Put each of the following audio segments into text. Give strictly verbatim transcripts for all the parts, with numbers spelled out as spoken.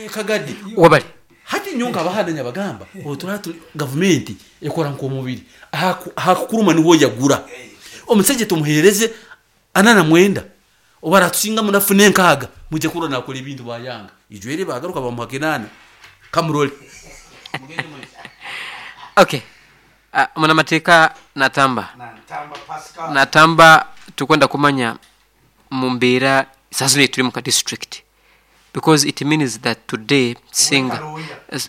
Kagadi. Wabale. Hati nyowe nkabahana nyabagamba otura gavumenti ekora nk'omubiri, ahakukuruma niho yagura. Omusajja tumuhereze ana na mwenda, obu aratusinga munafuna enkaaga, mwije kurora nakora ebintu. Bayanga ijwere bagaruka bamuha kinana kamurole. Okay, uh, munamateeka Natamba. Natamba, tukwenda kumanya mu mbeera sasa turi mu ka district, because it means that today singa,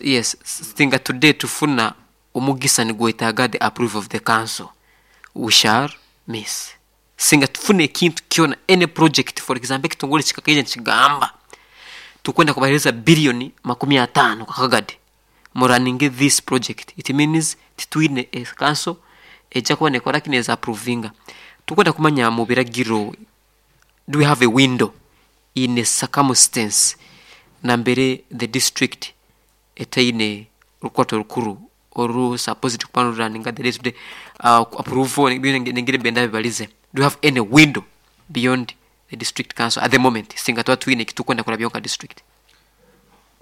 yes, singa today tufuna omugisa nigwetaaga the approval of the council, we shall miss. Singa tufuna ekintu kyona, any project, for example, ekitongole kikakaija nikigamba tukwenda kubahereza biliyoni makumi ataano kakagadi muraninge this project, it means titwine a council ejja kuba nekora kineza approvinga. Tukwenda kumanya mu biragiro, do we have a window in a circumstance nambere the district etaine orukwato rukuru oru supposed kuba ruraninga the day to day uh, approval nengire benda bibalize? Do we have any window beyond the district council at the moment, singa tuba twine ekitukwenda kurabya nka district?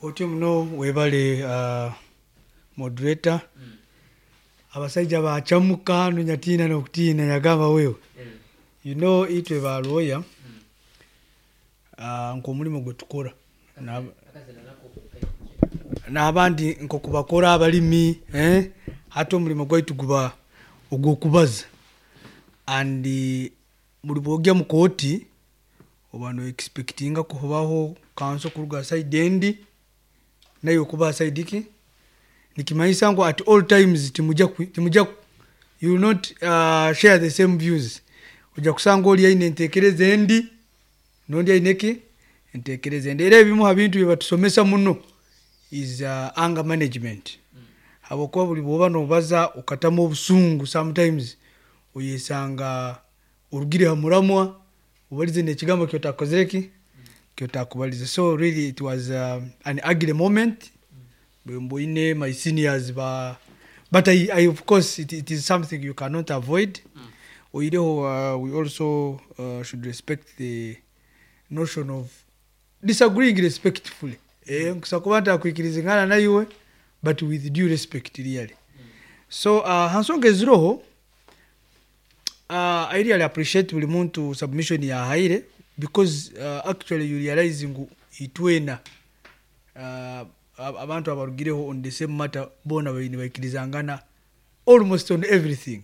Otyo muno, webale, uh, moderator. Abasajja bacamuka hano, nyatiina nokutiina nyagamba wewe, you know itwe balwoya, uh, nk'omulimo gwe tukora N'ab- n'abandi nk'okubakora abalimi, eh? Hati omulimo gwaitu guba ogw'okubaza, and eh, buli bwogya mu kooti oba no expectinga kubaho counsel kuruga side endi naye okuba side ki, nikimanyisa ngu at all times timujja ku- timujja, you will not uh, share the same views. Ojja kusanga oli aine entekereza endi nondi aine ki entekereza endi. Era ebimu ha bintu bye batusomesa muno is uh, anger management, habwokuba buli bwoba nobaza okatamu obusungu, sometimes oyesanga orugire ha muramwa, obalize nekigambo kyotakozere ki kyotakubalize. So really it was um, an ugly moment bwe mboine my seniors ba, but I, I, of course it, it is something you cannot avoid. Oireho uh, we also uh, should respect the notion of disagreeing respectfully. Eh, nkusa kuba ntakwikirizingana naiwe, but with due respect, really. So uh, hansonga eziroho, uh, I really appreciate buli muntu submission yahaire, because uh, actually you realize ngu itwena uh, ab- abantu abarugireho on the same matter bona baine baikirizangana almost on everything,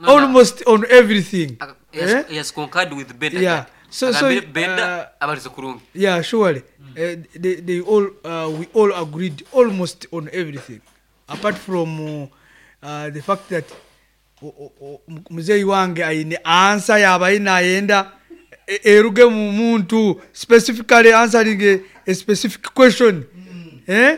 almost on everything. Eh? He has concurred with Benda. Yeah. So- so, Agambire Benda uh, abalize kurungi. Yeah, surely. uh, they, they all uh, we all agreed almost on everything, apart from uh, uh, the fact that o- o- o- muzeeyi wange aine answer yaba aine ayenda e- eruge mu muntu specifically answering a, a specific question, eh?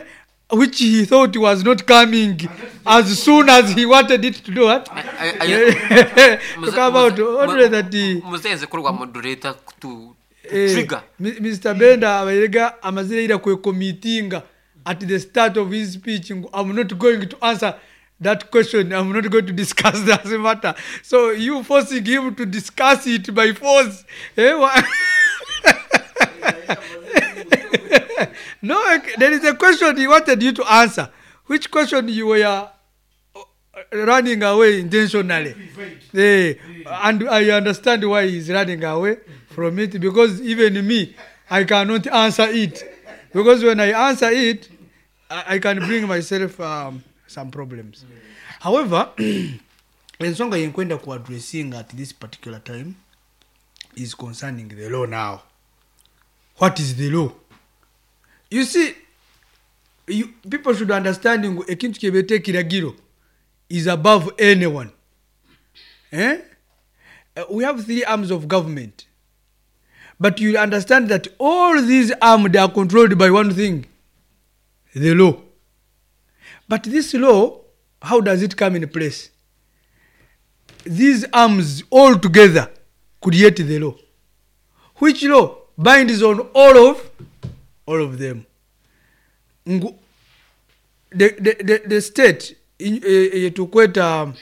Which he thought was not coming as soon as he wanted it to do what to come out only that he, Muzenze kurwa moderator to Eh, trigger. Mi- Mister Benda abairega amazire ira kwecommittinga at the start of his speech ngu, "I'm not going to answer that question. I'm not going to discuss that matter." So you forcing him to discuss it by force, eh, wa- no, there is a question he wanted you to answer, which question you were uh, running away intentionally. Eh, and I understand why he's running away from it, because even me, I cannot answer it, because when I answer it, I, I can bring myself um, some problems. However, ensonga yenkwenda ku addressing at this particular time is concerning the law. Now, what is the law? You see, you, people should understand ngu ekintu kyebeta ekiragiro is above anyone, eh? Uh, we have three arms of government, but you understand that all these arms are controlled by one thing, the law. But this law, how does it come in place? These arms all together create the law, which law binds on all of all of them. Ngu, the, the, the, the state in- eh, eh, tukweta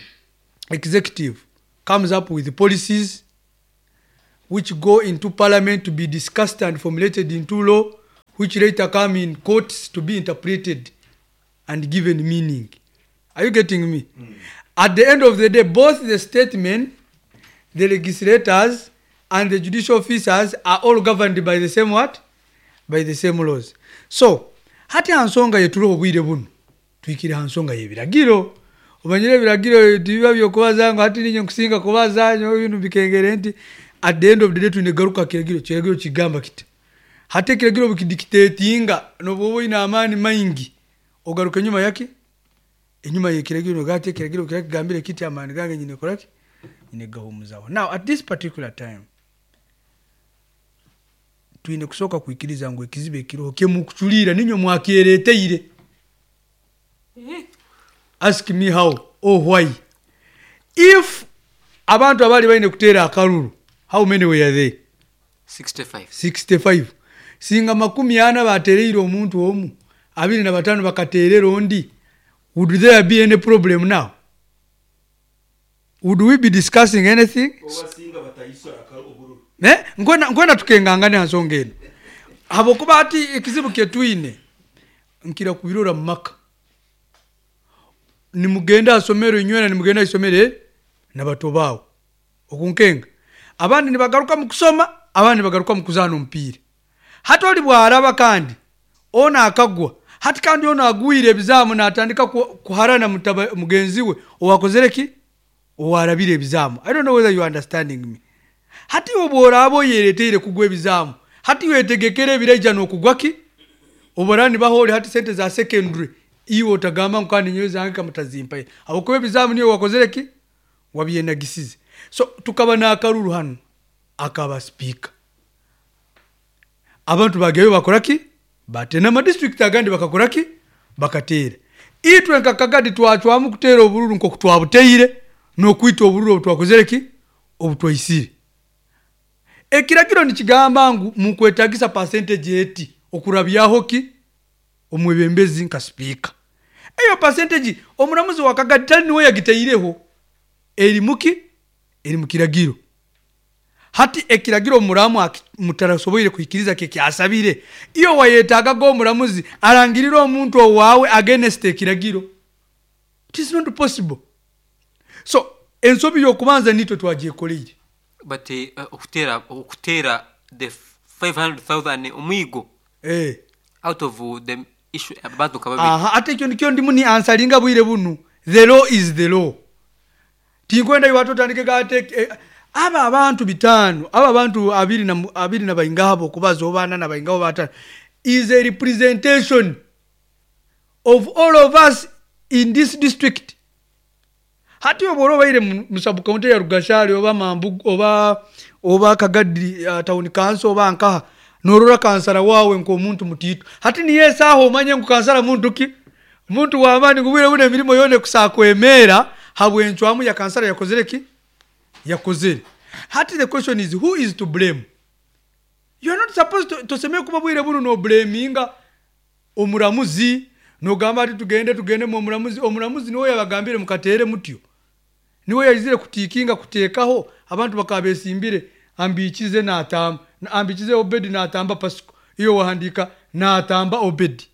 executive comes up with policies which go into parliament to be discussed and formulated into law. which later come in courts to be interpreted and given meaning. Are you getting me? Mm. At the end of the day, both the statesmen, the legislators, and the judicial officers are all governed by the same what? By the same laws. So, hati hansonga yetuli obwire buno twikire hansonga y'ebiragiro. Omanyire ebiragiro tibiba byokubaza ngu hati ninye nkusinga kubaza nyowe binu bikengere nti at the end of the day twine garuka kiragiro. Kiragiro kigamba kita? Hati ekiragiro bukidictatinga nobwoba oyine amaani maingi ogaruka enyuma yaki enyuma y'ekiragiro nogamba ekiragiro kira kigambire kiti amaani gange nyine koraki nyine gahumuzaho. Now at this particular time twine kusooka kwikiriza ngu ekizibu ekiriho kyemukuculiira ninywe mwakyereeteire. Ask me how or why. If abantu abali baine kuteera akalulu, how many were they? sixty-five. sixty-five. Singa makumi ana batereire omuntu omu, abiri na batano bakateerera ondi, would there be any problem now? Would we be discussing anything? Eh? Nkwenda, nkwenda tukengangane nsonga eno. Habwokuba ati ekizibu kyetwine nkira kubirora mu maka. Nimugenda asomero inywena, nimugenda isomero nabato bawo okunkenga. Abandi nibagaruka mu kusoma, abandi nibagaruka mu kuzaana omupiira. Hati oli bwaraba kandi ona akagwa, hati kandi ono agwire ebizamu natandika kuharana mutaba, mugenzi we owakozere ki owarabire ebizamu. I don't know whether you are understanding me. Hati obworaba oyereteire kugwa ebizamu, hati wetegekere ebiraija n'okugwa ki oborani baholi hati sente za secondary iwe otagamba ngu kandi nyowe zange kamutazimpaye aho ebizamu niyo wakozere ki wabyenagisize. So tukaba n'akaruru hano akaba speaker, abantu bageyo bakora ki batena ama district agandi bakakora ki bakateera. Itwe nka Kagadi twacwamu kuteera obururu nko kutwabuteire n'okwita obururu obutwakozere ki obutwaisire. Ekiragiro nikigamba ngu mukwetagisa percentage eti okurabyaho ki omwebembezi nka speaker. Eyo percentage omuramuzi wa Kagadi tali niwe yagiteireho, eri muki eri mu kiragiro. Hati ekiragiro omuramu mutarasoboire kuikiriza ke kyasabire, iyo wayetaga go omuramuzi arangirira omuntu owawe against ekiragiro. It is not possible. So ensobi yokubanza nitwe twagyekoleire. But uh, okutera okutera the five hundred thousand omwigo eh out of the issue abantu kababi. Aha, ate ekyo nikyo ndimu ni ansalinga bwire bunu. The law is the law. Tinkwenda iwe otandike gate eh, aba abantu bitano, aba abantu abiri na abiri na baingabo kubaza obana na baingabo batano is a representation of all of us in this district. Hati oboro baire mu sub county ya Rugashari oba Mambugu oba oba Kagadi uh, town council oba nkaha norora kansara wawe nko omuntu mutitu. Hati niye saho omanye nko kansara muntu ki muntu wa amani ngubwire bune emirimo yone kusakwemera habwencwamu ya kansara yakozere ki yakozere. Hati the question is who is to blame? You are not supposed to toseme kuba bwire buno no blaminga omuramuzi nogamba ati tugende tugende mu omuramuzi. Omuramuzi niwe yabagambire mukatere mutyo, niwe yayizire kutikinga kutekaho abantu bakabesimbire ambikize natamba ambikize Obedi natamba Pasiko iyo wahandika natamba Obedi.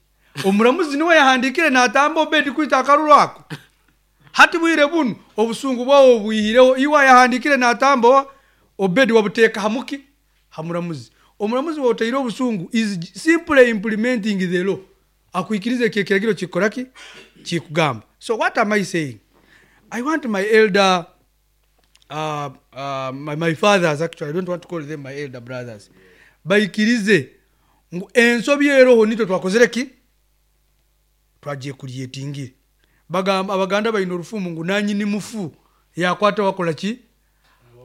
Omuramuzi niwe yahandikire natamba Obedi kwita akaruru ako. Hati bwire bunu obusungu bwawo bwihireho iwa yahandikire natamba Obedi wabuteka hamuki hamuramuzi. Omuramuzi woteire obusungu is simply implementing the law. Akuikirize ekiragiro kikoraki kikugamba. So what am I saying? I want my elder uh, uh, my, my fathers, actually I don't want to call them my elder brothers, baikirize ngu ensobi eroho nitwe twakozere ki twagiye kuryetingire. Bagamba abaganda bayina orufumu ngu nanyini mufu yakwata wakola ki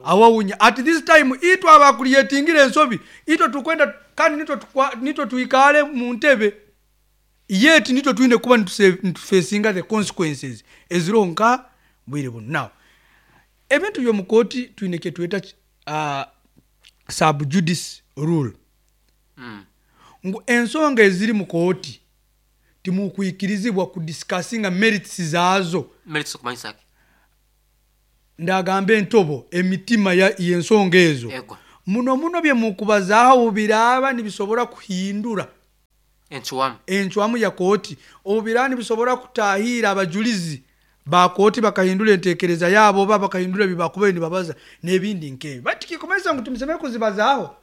awawunya. At this time itwe abakuryetingire ensobi itwe tukwenda kandi nitwe nitwe tuikale mu ntebe yet nitwe twine kuba nitufacinga the consequences eziroho nka bwire buno. Now ebintu by'omukooti twine kye tweta uh, sub judice rule. Mm. Ngu ensonga eziri mu kooti timukwikirizibwa kudiscussinga merits zaazo. Merits okumanyisa ki? Ndagamba entobo emitima y'ensonga ezo. Ego. Muno muno bye mukubazaaho biraba nibisobora kuhindura Enchwamu. Encwamu ya kooti obu biraba nibisobora kutahiira abajulizi ba kooti bakahindura entekereza yabo oba bakahindura ebi bakubaire nibabaza n'ebindi nk'ebyo, but kikumanyisa ngu timusemere kuzibazaaho.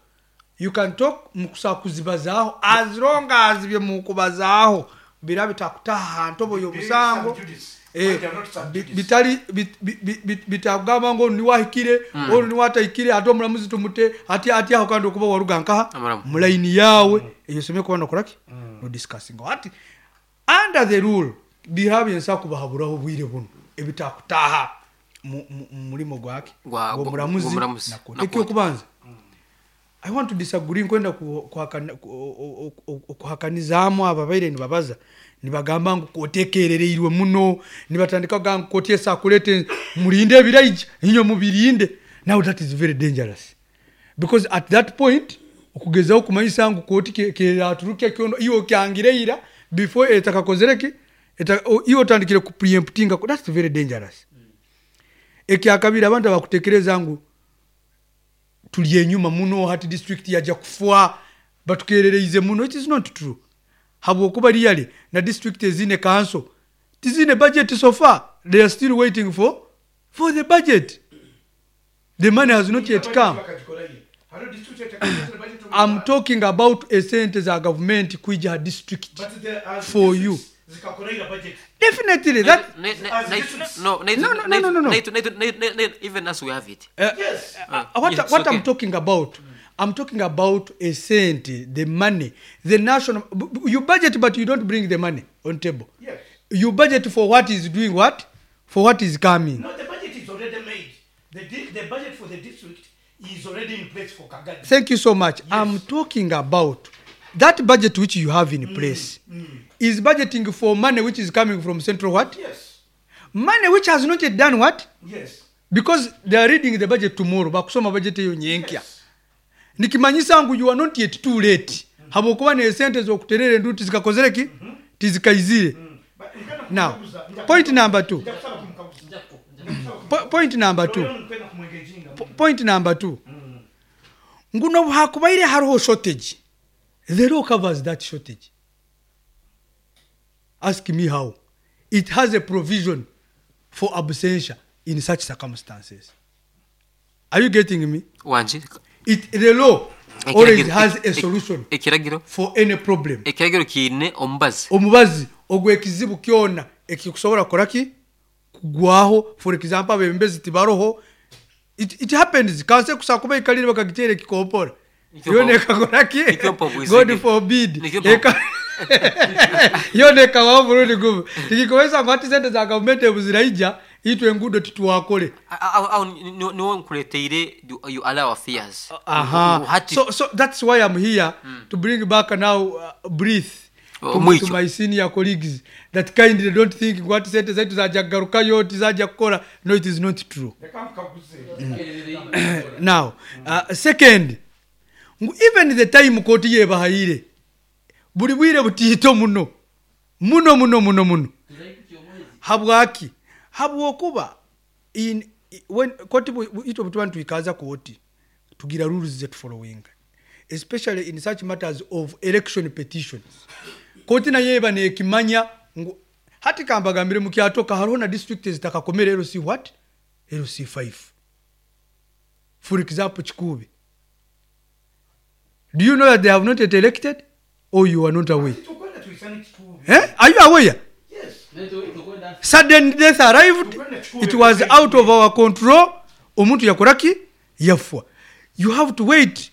You can talk, mukusobola kuzibazaaho as long as bye mukubazaaho biraba bitakutaha ha ntobo y'omusango. Eh, bi- bitali bit- bi- bi- bi- bitakugamba ngu onu niwe ahikire, onu niwe atahikire, ate omuramuzi tumute ati ati aho kandi okuba waruga nkaha Amuramu. Mulaini yawe eyo osemere kuba nokoraki, no discussing ati under the rule bihaba byensa kubahaburaho obwire buno ebitakutaha mu mu- mu murimo gwake Gwa- gw'omuramuzi gw'omuramuzi na kooti. Na kooti. Ekyokubanza, I want to disagree, nkwenda ku- kuhakana- ku- o- o- o- kuhakanizaamu abo ababaire nibabaza nibagamba ngu kooti ekerereirwe muno, nibatandika kugamba ngu kooti esakulete murinde ebiraija inywe mubirinde. Now that is very dangerous, because at that point okugezaho kumanyisa ngu kooti ke- keraturuka kyono iwe okyangire ira before etakakozere ki, eta- o- iwe otandikire ku preemptinga, that's very dangerous. Ekyakabiri, abantu abakutekereza ngu tuli enyuma muno, hati district yaja kufa, batukerereize muno, it is not true, habwokuba really na district ezine council tizine budget. So far they are still waiting for for the budget. The money has not yet come. I'm talking about esente za government kwija ha district for you. Definitely that Ne- ne- As ne- districts. no, ne- No, no, ne- no, no, no. ne- ne- ne- ne- ne- even us we have it. Uh, Yes. uh, what, Yes, what okay. I'm talking about, I'm talking about a cent, the money, the national. b- b- You budget, but you don't bring the money on table. Yes. You budget for what is doing what, for what is coming. No, the budget is already made. The, di- the budget for the district is already in place for Kagadi. Thank you so much. I'm talking about that budget which you have in place is budgeting for money which is coming from central what? Yes. Money which has not yet done what? Yes. Because they are reading the budget tomorrow. Bakusoma budget eyo nyenkya. Yes. Nikimanyisa ngu you are not yet too late, habwokuba nesente zokuterera enduti zikakozere ki, tizikaizire. But nkwenda Now, kumukaguza- nja- point number two. nja kusaba kumukaguza. Po- point number two. Leo nkwenda kumwengeginga. Po- point number two, ngu nobu hakubaire hariho shortage, the law covers that shortage. Ask me how. It has a provision for absentia in such circumstances. Are you getting me? Wangi. It, the law always Ekiragiro- has a ek- solution ekiragiro for any problem. Ekiragiro kiine omubazi. Omubazi ogw'ekizibu kyona ekikusobola kukoraki kugwaho. For example, abebembezi tibaroho. it, it happens, kanse kusa kuba ikalire bakagitera ekikompora, Nikyo yona pa- ekakoraki. Nikyo pa bwisige. God forbid. Nikyo pa- Eka- yona ekabaho murundi gumu, tikikomesa ngu ati sente za gavumenti ebu ziraija itwe enguudo titwakole. Aho aho ni- ni- niwo nkuleteire you- you allow our fears. Aha. Hati So, so that's why I'm here to bring back now uh, breath Oh, to, mwicho. to my senior colleagues that kindly don't think ngu ati sente zaitu zaja kugarukayo, tizaja kukora. No, it is not true. Reka mukaguze. Now, uh, second, ngu even the time kooti yebahayire buli bwire butiito muno muno muno muno muno. Habwaki? Habwokuba in when koti bu- bu- itwe butuba nitwikaza kooti tugira rules zetufollowing, especially in such matters of election petitions. Kooti nayo eba nekimanya ngu hati kambagambire, mukyatoka hariho na district ezitakakomere L C what, L C five. For example, Kikuube. Do you know that they have not yet elected, or you are not aware? Tukwenda tuisane Kikuube. Eh? Are you aware? Yes. Sudden death arrived. It was out of our control. Omuntu yakoraki, yafwa. You have to wait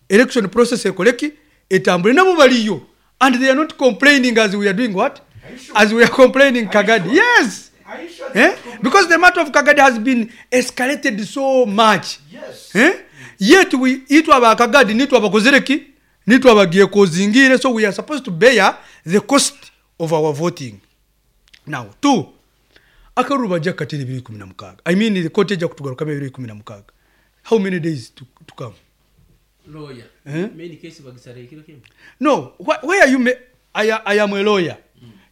election process ekoleki, etambule. Nabo baliyo and they are not complaining as we are doing what? Are you sure? As we are complaining. Are you Kagadi sure? Yes. Are you sure Eh? they are Because the matter of Kagadi has been escalated so much. Yes. Eh? Yet we, itwe abakagadi nitwe abakozereki, nitwe abagiye kozingire, so we are supposed to bear the cost of our voting. Now, two, akaruru bajja kukatira ebibiri ikumi na mukaaga, I mean, kooti ejja kutugarukamu ebibiri ikumi na mukaaga. How many days to, to come? Lawyer. Eh? Main case bagisara ekiro kimu. No, wh where are you ma- I, I am a lawyer.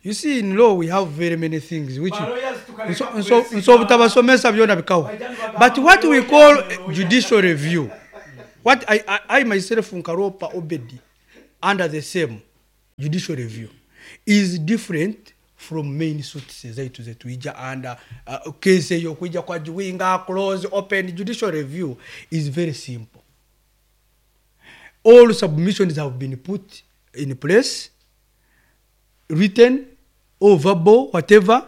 You see, in law we have very many things which Ba lawyers tukaleka nso- nso- kwesiga. nso obutabasomesa byona bikawa. But what we call judicial review, what I, I, I myself, Nkaropa Obedi, under the same Judicial review is different from main suits ezaitu zetwija under uh, case eyo kwija kwa juwinga close open. Judicial review is very simple. All submissions have been put in place, written or verbal, whatever.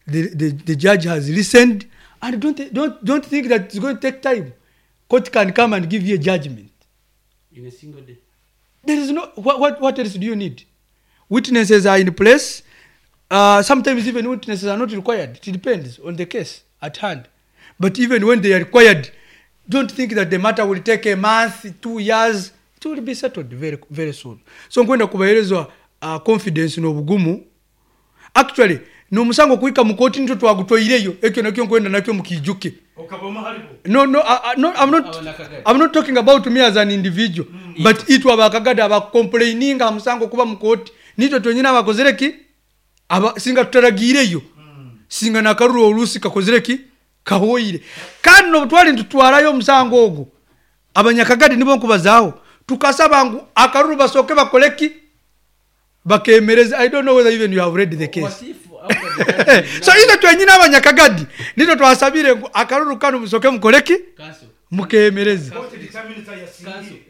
The, the, the judge has listened, and don't, don't, don't think that it's going to take time. Court can come and give you a judgment in a single day. There is no, what, what, what else do you need? Witnesses are in place. Uh, sometimes even witnesses are not required. It depends on the case at hand. But even when they are required, don't think that the matter will take a month, two years. It will be settled very, very soon. So nkwenda kubaherezwa uh, confidence n'obugumu. Actually, n'omusango kuhika mu kooti nitwo twagutoireyo, ekyo nakyo nkwenda nakyo mukijuke. No, no, uh, uh, no, I'm not, I'm not talking about me as an individual. Mm. But itwe abakagada abakomplaininga musango kuba mu kooti nitwe twenyine abakozere ki? Aba singa tutaragireyo. Mm. Singa nakaruru olusi kakozere ki? Kahoire. Kandi no twali ntutwarayo omusango ogwo. Abanyakagadi nibo nkubazaaho. Tukasaba ngu akaruru basoke bakoleki bakemereza. I don't know whether even you have read the case. So ile twenyine abanyakagadi nito twasabire ngu akaruru kano musoke mukoleki mukemereze.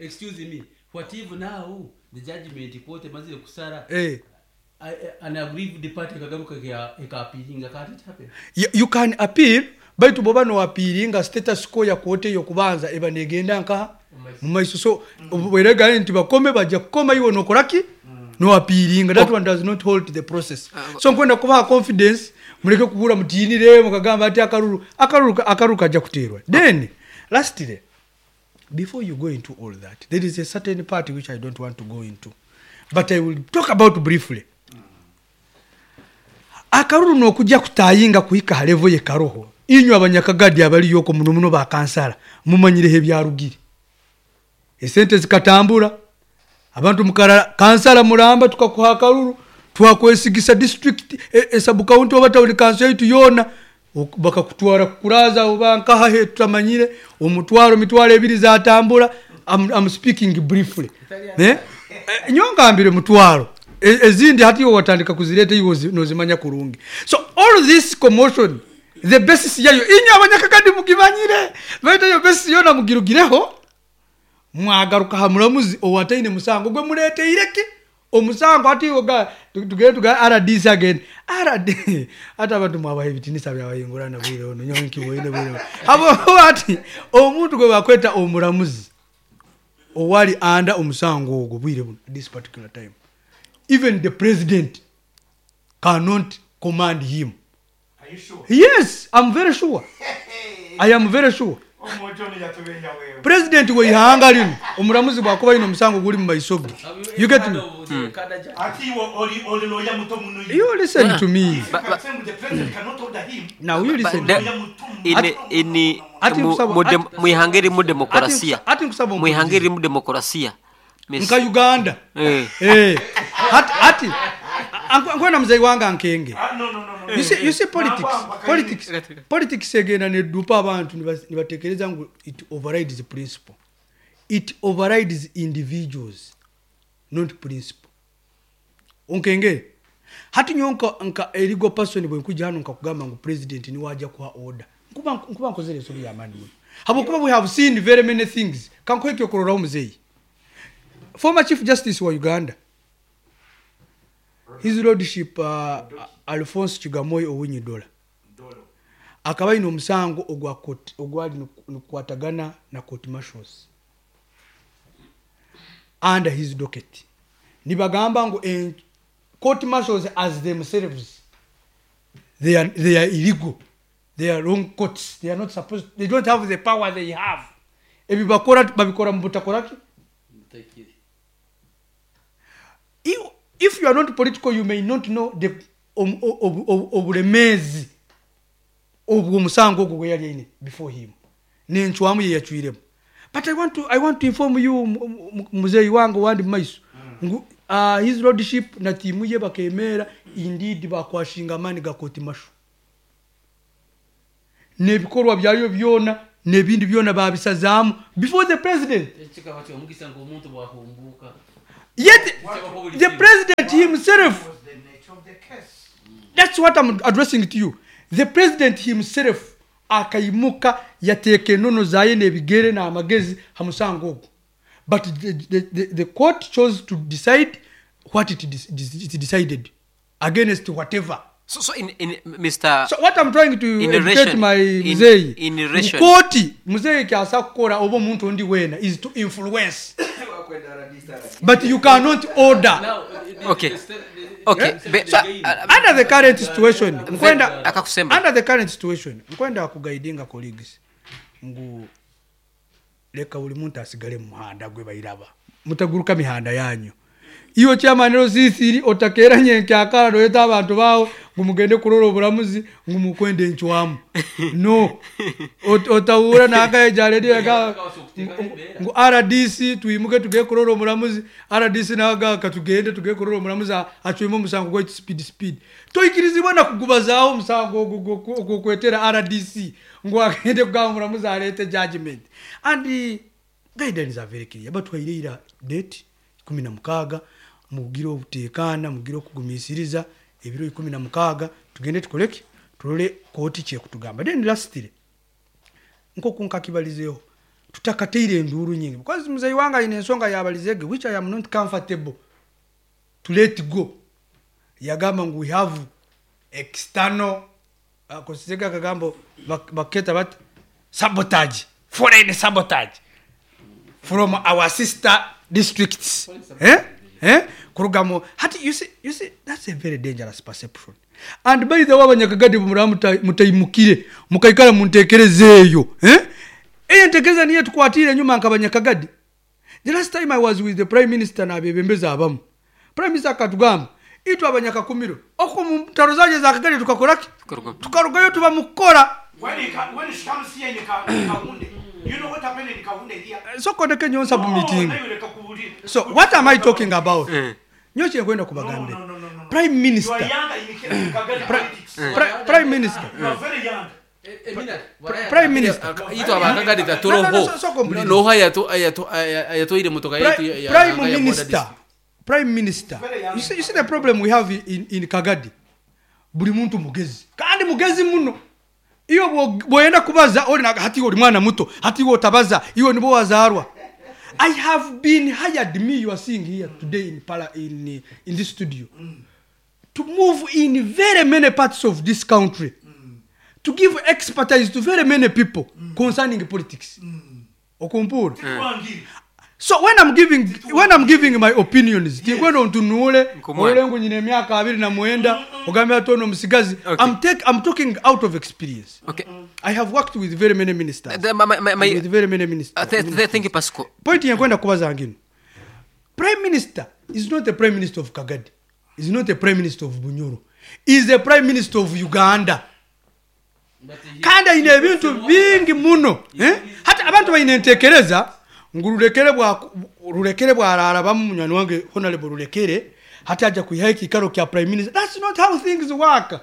Excuse me, what if now the judgment court mazire kusara eh an aggrieved party kagaruka ka appealinga, can't it happen? You, you can appeal, baitu boba no appealinga status quo ya kote yo kubanza eba negenda nka mumaiso. So bwerega nti bakome bajja kukoma iwo nokoraki no appealing. That one does not hold the process. So nkwenda kubaha confidence, muleke kubura mutinire mukagamba ati akaruru akaruru akaruru kajja kuterwa. Then lastly, before you go into all that, there is a certain part which I don't want to go into, but I will talk about briefly. Akaruru nokujja kutayinga kuhika halevo ye karoho. Inywe abanyakagadi abali yoko muno muno ba kansala mumanyireho ebyarugire. Esente zikatambura abantu mukara kansala mulamba tukakuha akaruru twakwesigisa district e, e sub county oba town council yaitu yona bakakutwara kukuraza oba nkaha he tutamanyire omutwaro mitwaro ebiri zatambura. I'm, I'm speaking briefly. Ne? E, nyongambire mutwaro ezindi hati yo watandika kuzireta iwo nozimanya kurungi. So all this commotion, the basis yayo inyo abanyakagadi mugimanyire baita yo basis yona mugirugireho mwagaruka hamulamuzi owataine musango gwe mulete ireke omusango ati oga tugere tuga R D C again R D ata abantu mwabahe bitinisa byabayingurana bwire ono nyonki boine bwire abo ati omuntu gwe bakweta omulamuzi owali anda omusango ogwo bwire this particular time, even the president cannot command him. Are you sure? Yes, I'm very sure. I am very sure. President we ihanga lino omulamuzi bwakuba ino omusango guli mu maiso ge. You get me? Mm. You listen to me. Now you listen. In in mu ihanga mu demokrasia. Mu ihanga mu demokrasia. Nka Uganda. Eh. Eh. Hati hati nkwena mzee wanga nkenge. No, no, no, no. You see, you see politics. Politics. Politics egenda nedupa abantu nibatekereza ngu it overrides the principle. It overrides individuals, not principle. Onkenge. Hati nyonka nka a legal person bwe nkuja hano nkakugamba ngu president ni waja kuha order. Nkuba nkuba nkozere ensobi ya mani. Habwokuba we have seen very many things. Kankweke okororaho mzee. Former Chief Justice wa Uganda, His Lordship uh, Alphonse Chigamoy Owiny Dollo akaba ino omusango ogwa ogwali nukwatagana na court martials under his docket. Nibagamba ngu eh, court martials as themselves they are, they are illegal, they are wrong courts, they are not supposed, they don't have the power they have. Ebibakora babikora mu butakoraki. If you are not political, you may not know the obulemezi obwo musango ogwo gwe yali aine before him. N'encwamu ye yacwiremu. But I want to, I want to inform you muzeeyi wange wandi mu maiso ngu uh, His Lordship na tiimu ye bakemeera indeed bakwashinga amaani ga court martial. N'ebikorwa byayo byona n'ebindi byona babisazaamu before the president. Ekikaba kyomukisa ng'omuntu bwahumbuka. Yet the president himself, Was the nature of the case. that's what I'm addressing to you. The president himself akaimuka yateeka enono zaye n'ebigere n'amagezi ha musango ogwo. But the, the, the, the court chose to decide what it, it decided against whatever. So, so in, in Mister So what I'm trying to In educate relation- my in- muzeeyi, in relation- kooti muzeeyi kyasa kukora oba omuntu ondi weena is to influence, but you cannot order. Okay. Okay. Be, So, uh, under the current situation nkwenda Akakusemba. under the current situation nkwenda kuguidinga colleagues ngu leka buli muntu asigale mu muhanda gwe bairaba, mutaguruka mihanda yanyu. Iyo chairman Rosisiri otakeera nyenkyakala noyeta abantu bawo ngu mugende kurora oburamuzi ngu mukwende encwamu no. Ot- otahura nakaejaredia ngu R D C twimuke tugende kurora omuramuzi, R D C naga katugende tugende kurora omuramuzi acwime omusango gwaitu speed speed. Toikirizibwa na kugubazaaho omusango ogwo ogwokwetera R D C ngu agende kugamba omuramuzi arete judgment. And eh, guidelines are very clear. Batwaire date ikumi na mukaaga, mugire obuteekaana, mugire okugumisiriza ebiro ikumi na mukaaga, tugende tukoleki, turole kooti kyekutugamba. Then lastly, nkoku nkakibalizeeho, tutakateire enduuru nyingi because muzeyi wange ayina ensonga yabalizege which I am not comfortable to let go. Yagamba ngu we have external, akosezega akagambo bak- baketa bati sabotage, foreign sabotage from our sister districts, eh? Eh? Kuruga hati you see, you see, that's a very dangerous perception. And by the way, abanyakagadi muraba muta- mutaimukire mukaikara muntekereza eyo, eh? Eyo entekereza niyo tukwatire enyuma nkabanyakagadi. The last time I was with the prime minister n'abebembezi abamu, prime minister akatugamba itwe abanyakakumiro oko mu ntaro zanje za Kagadi tukakoraki? Tukarugayo. Tukarugayo tuba mukukora. When he, ca- when she comes here in Ka- in Kahunde, you know what happened in Kahunde here? Sokondeke nyonsa bu meeting. No, nayo leka kuwulira. So what am I talking about? Mm. Nyo kyenkwenda kubagambira, No, no, no, no, no. prime You are minister, younger in Kagadi politics. Pri- prime minister, You are very young. prime minister, Itu abakagadi No, no, no, tatoroho so- so complete. noha yatwaire motoka yetu Pri- ya- ya- prime ya border minister, district. Prime minister, you see, you see the problem we have in, in Kagadi, buli muntu mugezi kandi mugezi muno. Iyo bwo- bwoyenda kubaza oli naga, hati oli mwana muto, hati iwe otabaza, iwe nibo wazarwa. I have been hired, me you are seeing here today in, Pala, in, in this studio, to move in very many parts of this country to give expertise to very many people concerning politics. Okumpura? Wangiri. So when i'm giving when I'm giving my opinions, tinkwenda ontunuule Nkumwana. ole ngu nyina emyaka abiri na mwenda ogambe ati ono omusigazi. Okay. I'm, take, i'm talking out of experience. Okay. I have worked with very many ministers The- my- my- my- and with very many ministers. Uh, th- th- thank you, Pasco. Point yenkwenda kubaza ngino, prime minister is not a prime minister of Kagadi, is not a prime minister of Bunyoro, is a prime minister of Uganda. Kandi ayina ebintu bingi muno, eh? Hati abantu balina entekereza ngu Rulekere bwa Rulekere bwarara bamu munywani wange Honorable Rulekere hati aja kwihayo ekikaro kya prime minister. That's not how things work.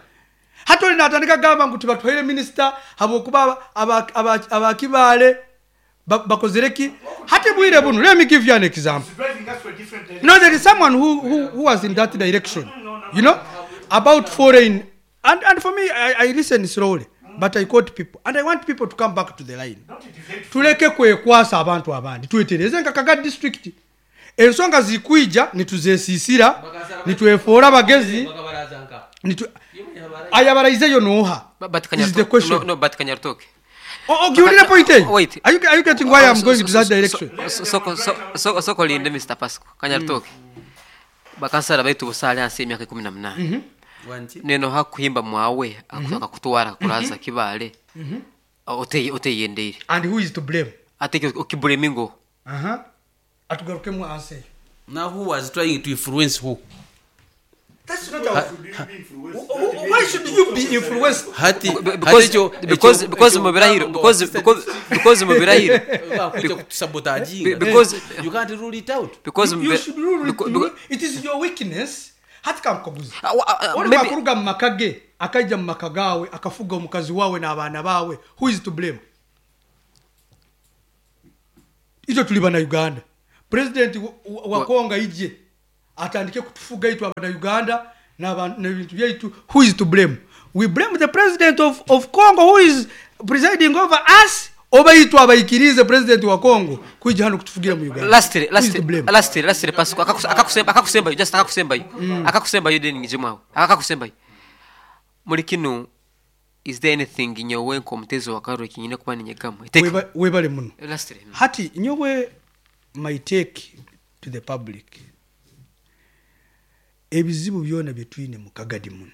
Hati oli natandika gamba ngu tibatwaire minister habwokuba abakibaale bakozere ki. Hati bwire buno, let me give you an example. It's driving us to a different direction. No, there is someone who, who, who was in that direction, you know, about foreign. And, and for me, I, I listen slowly, but I quote people. And I want people to come back to the line. Not defend. Tuleke kwekwasa abantu abandi, twetereze nka Kaga district. Ensonga zikwija nituzesiisira, nitwefoora bagezi, nitu ayabaraizeyo noha? But, but Is Kanyartoke, the question. No, no, but Kanyartoke. Oh, oh, giwulira point eyo? Wait. Are you, are you getting why I'm So- going so- to that so- direction? so- so- so- so- soko linde Mister Pasco Kanyartoke. Bakansala baitu busaale hansi y'emyaka ikumi na munaana neno hakuhimba mwawe akakutwara kuraza Kibaale oteye oteyendeire. And who is to blame? Ate okibulamingo. Uh-huh. Atugarukemu answer eyo. Now who was trying to influence who? That's not our. Why should you be influenced? Hati because because because mu birahiro because because because mu birahiro because kutusabotaginga, because you can't rule it out. Because You, mu you bi- should rule it. beca- You, it is your weakness. Hati kankubuze. Ah, wa- ah, Oli maybe- bwakuruga mu maka ge akajja mu maka gaawe akafuga omukazi waawe n'abaana baawe, who is to blame? Itwe tuli bana Uganda. President wa- wa wa Kongo ije Atandike kutufuga itwe abana Uganda n'aba- n'ebintu byaitu. Who is to blame? We blame the president of, of Congo who is presiding over us, oba itwe abaikirize president wa Congo kwija hano kutufugira mu Uganda? Lastly, Who is lastly, to blame? lastly, lastly, Pasco, akakus- akakusemba, akakusembayo, just akakusembayo, akakusembayo, then ngijemu aho, akakusembayo. Muri kino, is there anything nyowe nk'omutezi wa karuro kinyine kuba ninyegamu? Take- Weba- webale muno. Lastly, mm. Hati nyowe, my take to the public, ebizibu byona byetwine mu Kagadi muno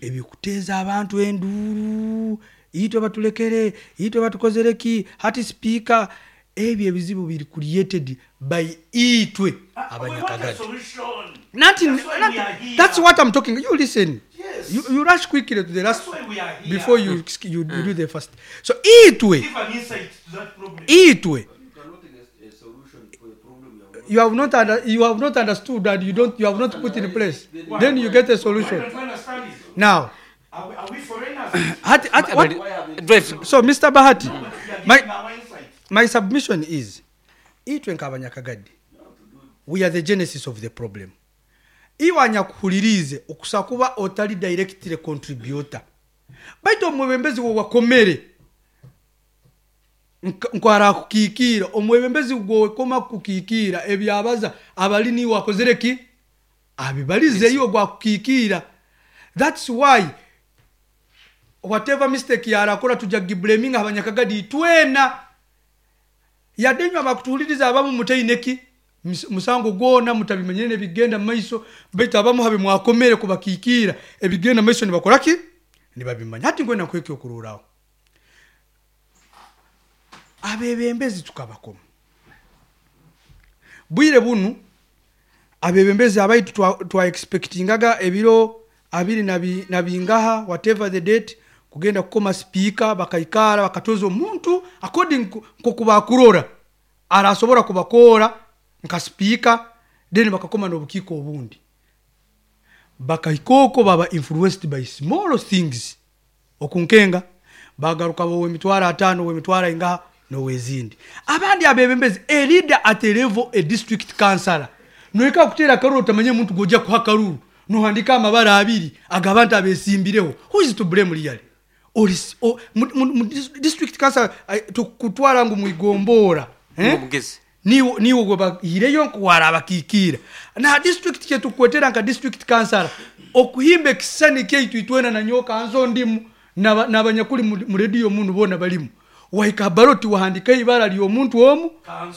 ebikuteeza abantu enduuru, itwe batulekere, itwe batukozereki, hati sipiika, ebyo ebizibu biri created by itwe Ah, we want a abanyakagadi. solution. Nanti- That's why we nanti- are here. that's what I'm talking. You listen. Yes. you, you rush quickly to the last That's why we are here. before you, you, you do the first. So itwe Give an insight to that problem. itwe you have not under, you have not understood and you don't you have not put in place, then you get a Why solution. don't you understand it? Now Are we, are we foreigners? hati, hati, what, Drive. So Mister Bahati, We are my, giving our insight. my submission is, itwe nk'abanyakagadi, we are the genesis of the problem. Iwe anyakuhulirize, okusa kuba otali directly contributor, baitu omwebembezi gwe wakomere nk- nkwarakukikiira, omwebembezi gwekoma kukikiira ebyabaza abali niwe akozere ki abibalize iwe gwakukikiira. That's why whatever mistake yarakora, tujja giblaminga abanyakagadi itwena, yadde nywa bakutuhuliriza abamu mutaineki mus- musango gwona, mutabimenyere nebigenda mumaiso, baitu abamu habe mwakomere kubakikiira ebigenda mumaiso nibakoraki nibabimanya. Hati ngwena nkwekyo okururaho abebembezi tukabakoma bwire bunu, abebembezi abaitu twa, twa expectingaga ebiro abiri na bi- na bingaha, whatever the date, kugenda kukoma sipiika, bakaikara bakatoza omuntu according ku- nkokubakurora arasobora kubakora nka sipiika, then bakakoma n'obukiiko obundi, bakaika baba influenced by small things, okunkenga bagaruka bowe emitwaro ataano, wemitwaro ingaha nowezindi. Abandi abebembezi, a leader at a level, a district councillor, noika kutera akaruru otamanye omuntu gojja kuha akaruru, nohandika amabara abiri agabantu abesimbireho. Who is to blame really? Oli o- mu- mu- mu dis- district council, eh, tukutwara ngu mwigombora, eh? Omugezi. Niwo niwo gwe bahireyo nkuwara abakikiira na district kyetukwetera nka district councillor, okuhimba ekisani kyaitu itwena nanyoka nzo ndimu n'aba- n'abanyakuli mu mu rediyo munu bona balimu, wahika baroti wahandika ibara ly'omuntu omu,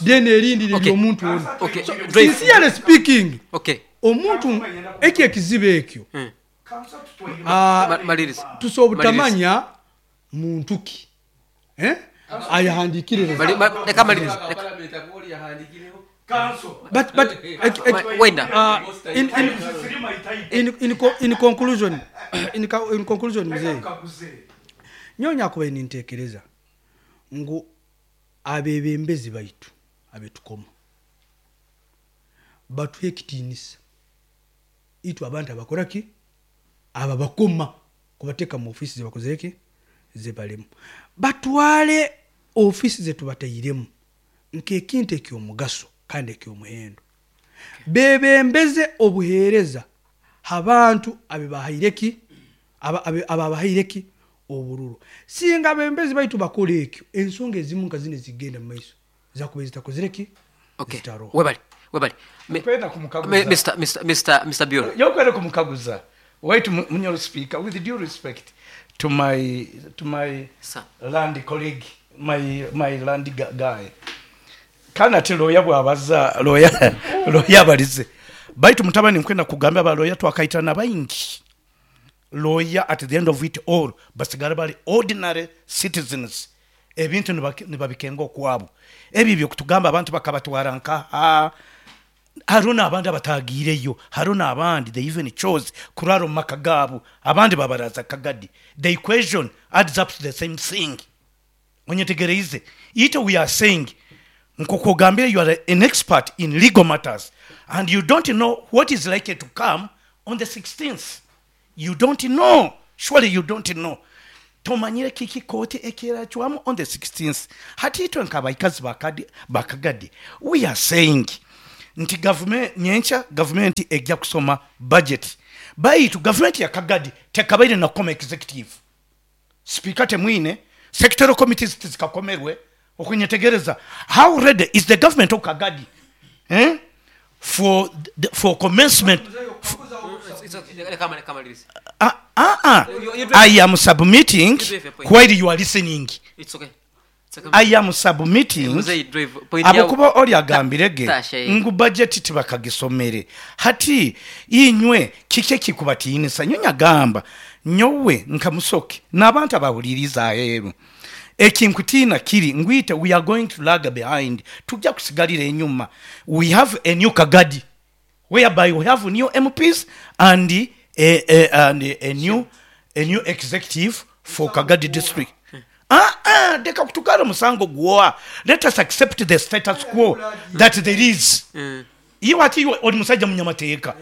then erindi Okay. ly'omuntu omu. Okay. So, Drive. sincerely speaking, Okay. omuntu ekyo ekizibu ekyo, Mm. Council tutwaire. ah, Ma- Maliriza. tusobutamanya muntu ki, eh? Ayahandikire. Mali- ma- Leka maliriza. Leka- Council. but but ek- ek- Ma- Wenda. uh, in, in, Three my time. in, in, co- in conclusion in, co- in conclusion, mzee, Kaguze. nyonya kuba nintekereza ngu abebembezi baitu abetukoma batuhe ekitiinisa itwe abantu abakoraki aba bakoma kubateeka mu ofiisi zebakozereki zebalemu, batwale ofiisi zetubatairemu nkekintu ekyomugaso kandi ekyomuhendo, bebembeze obuheereza abantu abebahaireki ababahaireki obururu. Singa abebembezi baitu bakola ekyo, ensonga ezimu nka zino ezigenda mu maiso zakuba zitakozereki, Okay. zitaroho. Webale. Webale. Me- Kwenda kumukaguza. Me- Mister Mister Mister Mister Biol. Yokwenda kumukaguza wait, mu- munyoro speaker, with due respect to my to my Sir. land colleague, my my land gu- guy, kana ati lawyer bwabaza lawyer lawyer abalize, baitu mutabani nkwenda kugamba ba lawyer twakaitana baingi, lawyer at the end of it all basigala bali ordinary citizens, ebintu nibaki- nibabikenga okwabo, ebyo byokutugamba abantu bakabatwara nkaha, hariho n'abandi abatagiireyo, hariho n'abandi they even chose kurara omu maka gaabo, abandi babaraza Kagadi. The equation adds up to the same thing. Onyetegereize ite we are saying, nkokugambire, you are an expert in legal matters and you don't know what is likely to come on the sixteenth. You don't know, surely you don't know, tomanyire kiki kooti ekeracwamu on the sixteenth. Hati itwe nkabaikazi bakadi- bakagadi, we are saying Nti gavumenti nyenkya gavumenti ejja kusoma budget. Baitu gavumenti ya Kagadi tekabaire nakoma executive. Speaker temwine, sectoral committees tizikakomerwe okunyetegereza. How ready is the government of Kagadi, eh? for the, for commencement? It's okay. Leka amale- kamalirize. uh, uh, uh. You- you I am submitting You drive your point. while you are listening. It's okay. It's okay. I am submitting. Muzeyi drive point Abokuba yawo- oli agambire ge Tasha, eh. ngu budget tibakagisomere. Hati inywe kike kikubatiinisa nyo nyagamba nyowe nka Musoke n'abantu abahuliriza aheeru ekinkutiina kiri ngwite we are going to lag behind, tujja kusigalira enyuma. We have a new Kagadi whereby we have new M Ps and a, a, and a new, a new executive for Kagadi district. Ah, ah, leka kutukala musango gwoa. Let us accept the status quo that there is. Iwe ati iwe oli musajja munyamateeka,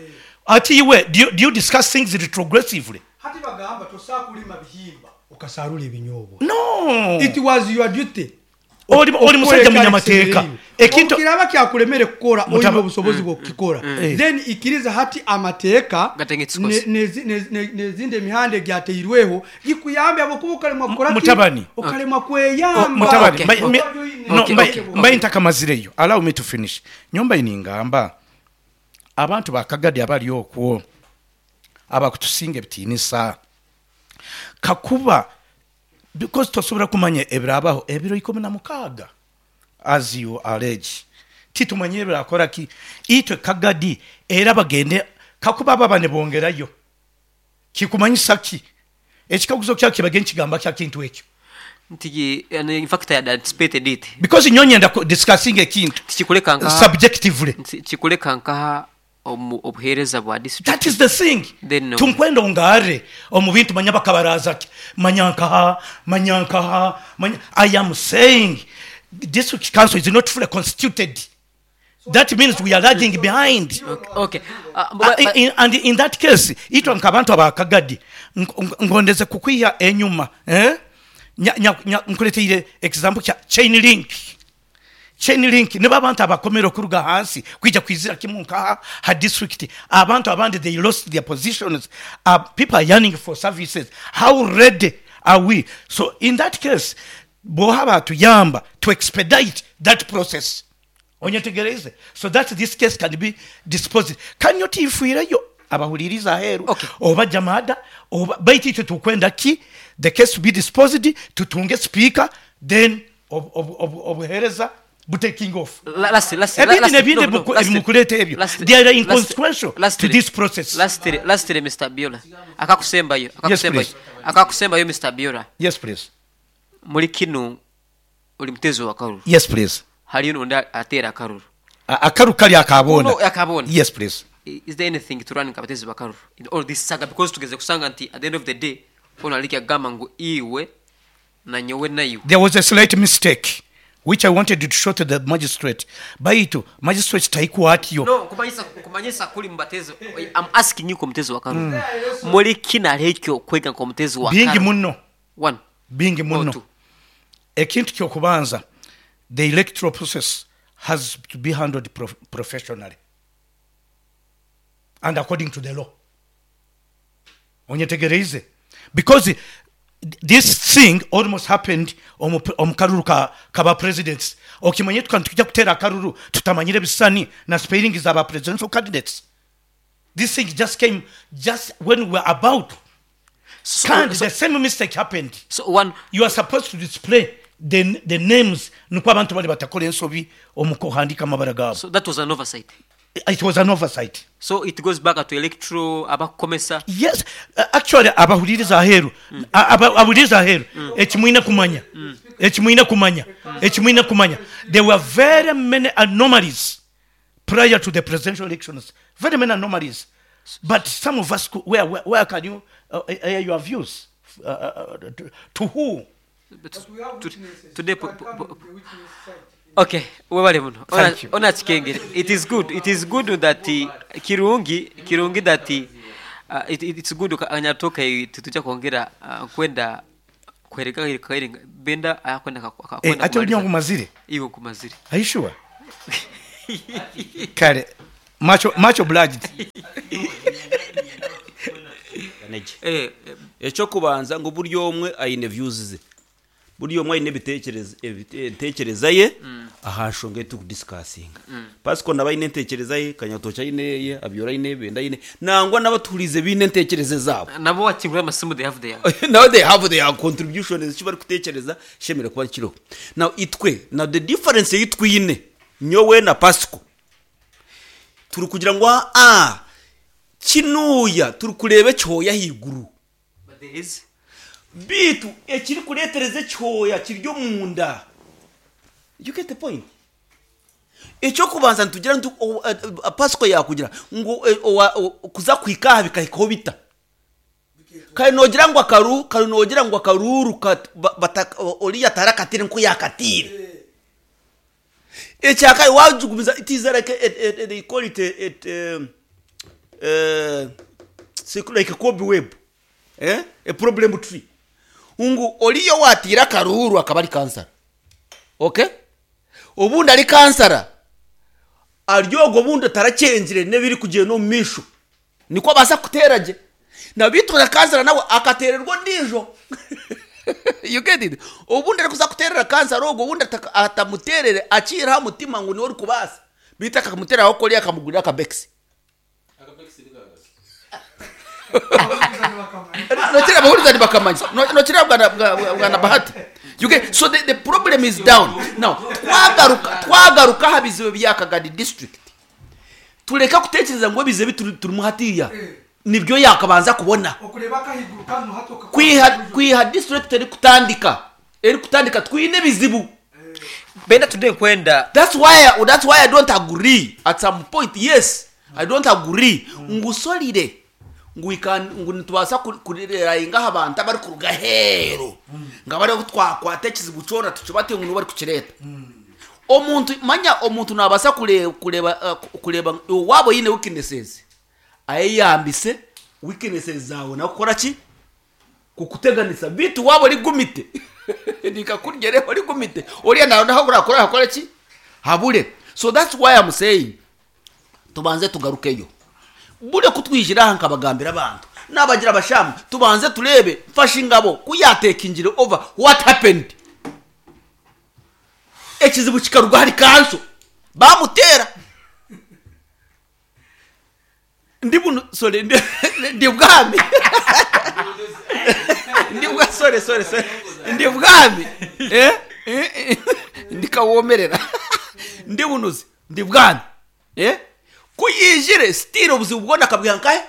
ati iwe do you, do you discuss things retrogressively? Hati bagamba tosakulima bihimba okasarula ebinyobwa. No. It was your duty. Oli oli musajja munyamateeka, ekintu kiraba kyakulemere kukola, Mutaba- olina obusobozi bwokukikola, Eh. then ikiriza hati amateeka Gategetse ne- ikosa. nezi- ne- ne- nezindi emihanda egyateirweho gikuyambe abokuba okalemwa kukola ki? Mutabani. Okalemwa kweyamba. Mutabani, Okay. mba- Okay. me- no, Okay, mba- okay, mbaye ntakamazireyo, allow me to finish. Nyomba iningamba abantu bakagadi abali okwo abakutusinga ebitiinisa kakuba, because tosobola kumanya ebirabaho ebiro ikumi na mukaaga as you allege, titumanye ebirakora ki itwe Kagadi era bagende kakuba baba ne bongerayo kikumanyisa ki ekikaguzo kya kibage nkigamba kya kintu ekyo. Nti and in fact I had anticipated it. Because nyonyenda ku- discussing ekintu Tikikuleka nkaha subjectively. nti kikuleka nkaha omu obuheereza bwa district. That is the thing. Then no. Tunkwenda ongare omu bintu manya bakabaraza ki manya nkaha manya nkaha manya. I am saying district council is not fully constituted. That means we are lagging behind. Okay, okay. Uh, Uh, but, but, in, and in that case itwa nkabantu abakagadi nk- ngondeze kukwiha enyuma, eh? Nya- nya- nya- nkuleteire example kya chain link. Chain link nibo abantu abakomera okuruga hansi kwija kwizira kimu nkaha ha district. Abantu abandi they lost their positions. uh, people are yearning for services. How ready are we? So in that case boha batuyamba to expedite that process, onyetegereze, so that this case can be disposed. Kanyo tiifuireyo abahuliriza aheeru Okay. oba jamada oba baitu itwe tukwenda ki the case to be disposed, tutunge speaker, then ob- ob- ob- obuheereza butaking off. La- lastly, lastly, Ebindi lastly, nebindi no, no, ebimuku- lastly, ebimukuleeta ebyo, lastly, they are lastly, inconsequential to lastly, this process. Lastly, lastly, Mister Biola, akakusembayo, akakusembayo, Please. akakusembayo, Mister Biola. Yes, please. Muri kino oli mutezi wa karuru. Yes, please. Haliyo n'ondi ateera akaruru. A- akaru kali akabona. No, akabona. Yes, please. Is there anything to run abatezi bakaruru in all this saga? Because tugeze kusanga nti at the end of the day ono aliki agamba ngu iwe na nyowe naiwe. There was a slight mistake which I wanted to show to the magistrate, baitu magistrate taikwatyo. No, kumanyisa kumanyisa kuli mubatezi. I'm asking you, komutezi wa karuru, muri kino alekyo okwega nkomutezi wa Bingi karuru. muno. One Bingi or muno. two. Ekintu kyokubanza, the electoral process has to be handled prof professionally and according to the law, onyetegereize, because this thing almost happened omu omu karuru ka, kaba presidents. Okimanye tukantu tujja kuteera akaruru tutamanyire ebisani na spelling zaba presidential candidates. This thing just came just when we were about So, kandi so, the same mistake happened. So one You are supposed to display the, the names nukwo abantu bali batakora ensobi omu kuhandika amabara gaabo. So that was an oversight. It was an oversight. So it goes back to electro abakomesa. Yes, uh, actually abahuliriza aheeru, A- aba- abahuliriza aheeru, ekimwine kumanya, ekimwine kumanya, ekimwine kumanya, there were very many anomalies prior to the presidential elections, very many anomalies, but some of us could- where, where, where can you uh, air your views, uh, uh, to, to who? But to- today po- po- po- okay, webale muno. Ona- Thank you. Ona kikengere, it is good, it is good that uh, kirungi kirungi that uh, it, it, it's good anyatoka tutujja kwongera uh, kwenda kwereka kairinga benda ayakwenda Eh, ate oli nkumazire. Iwe nkumazire. Are you sure? Kale much much obliged. Ganege. Eh, eh, Ekyokubanza ngu buri omwe aine views ze, buri omwe aine ebitekerezo ebite- entekereza ye aha nshonga ei turikudisikasinga. Pasiko naba aine entekereza ye, Kanyatoki aine eye, Abyora aine, Benda aine, nangwa n'abatuhuriize biine entekereza zaabo. Nabo wakingura amasimu, they have their Now they have their contribution, eki barikutekereza kishemereire kuba kiriho. Now itwe, now the difference ei twine nyowe na Pasiko, turi kugira ngu aa kinuuya turikureeba ekihooya ahaiguru. But there is Bitu ekirikureetereza ekihooya kiri omunda. You get the point? Ekyokubanza nitugira ntu o- eh, eh, Pasiko yakugira ngu eh, owa- o- kuza kuhika aha bikahikaho bita kare nogira ngu akaru kare nogira ngu akaruru kat- ba- bata- o- oriya tarakatire nku yakatire ekyakare wajugumiza. It is like a, a, a, they call it a, it, um, uh, it's like a cobweb, eh? A problem tree, ngu oriyo watira akaruru akaba ari kansara, okay, obundi ari kansara aryogo obundi atarakyengire n'ebiri kugyenda omu maisho niko abaasa kuteera gye na bitura kansara nawe akateererwa ondiijo. You get it? Obundi arikuza kuteerera kansara ogwo, obundi ataka- atamuteerere akiire aha mutima ngu niwe orikubaasa, bitu akamuteeraho koriya akamugurira akabekisi. Nokira abahuriza nibakamanya. No- nokira bwana bwa- bwana Bahati. You get? So the, the problem is down now. Twagaruka twagaruka aha bizibu bya Kagadi district, tureka kutekereza ngo ebizibu turi- turimu hatiya nibyo yakabanza kubona. Okureba akahiguru kano hatoka. Kwiha kwiha district eri kutandika eri kutandika twine ebizibu. Benda today nkwenda That's why I, that's why I don't agree at some point. Yes, I don't agree ngusolire ngu we can ngu nitubaasa ku- kurerayinga aha bantu abari kuruga heeru nga bari twakwata ekizibu kyona tukibate ngu nibo bari kukireeta. Omuntu manya omuntu nabaasa kure- kureba uh, kureba waaba oyine weaknesses, ayeyambise weaknesses zawe nakukora ki kukuteganisa, bitu waba ori gumite nikakuryere ori gumite oriya nawe naho urakora hakora ki habure. So that's why I'm saying tubanze tugarukeyo bure kutwijira aha nkabagambira abantu nabagira abashamu tubanze turebe mfashe ingabo kuyateka ingiro over what happened, ekizibu kikaruga hari kanso bamutera ndi bunu, sorry, ndi, ndi bwami ndi bwa sorry sorry sorry ndi bwami eh Eh, eh, ndikawomerera ndi bunuzi ndi bwami eh kuyijire still obuzibu bwona akabwiha nkahe.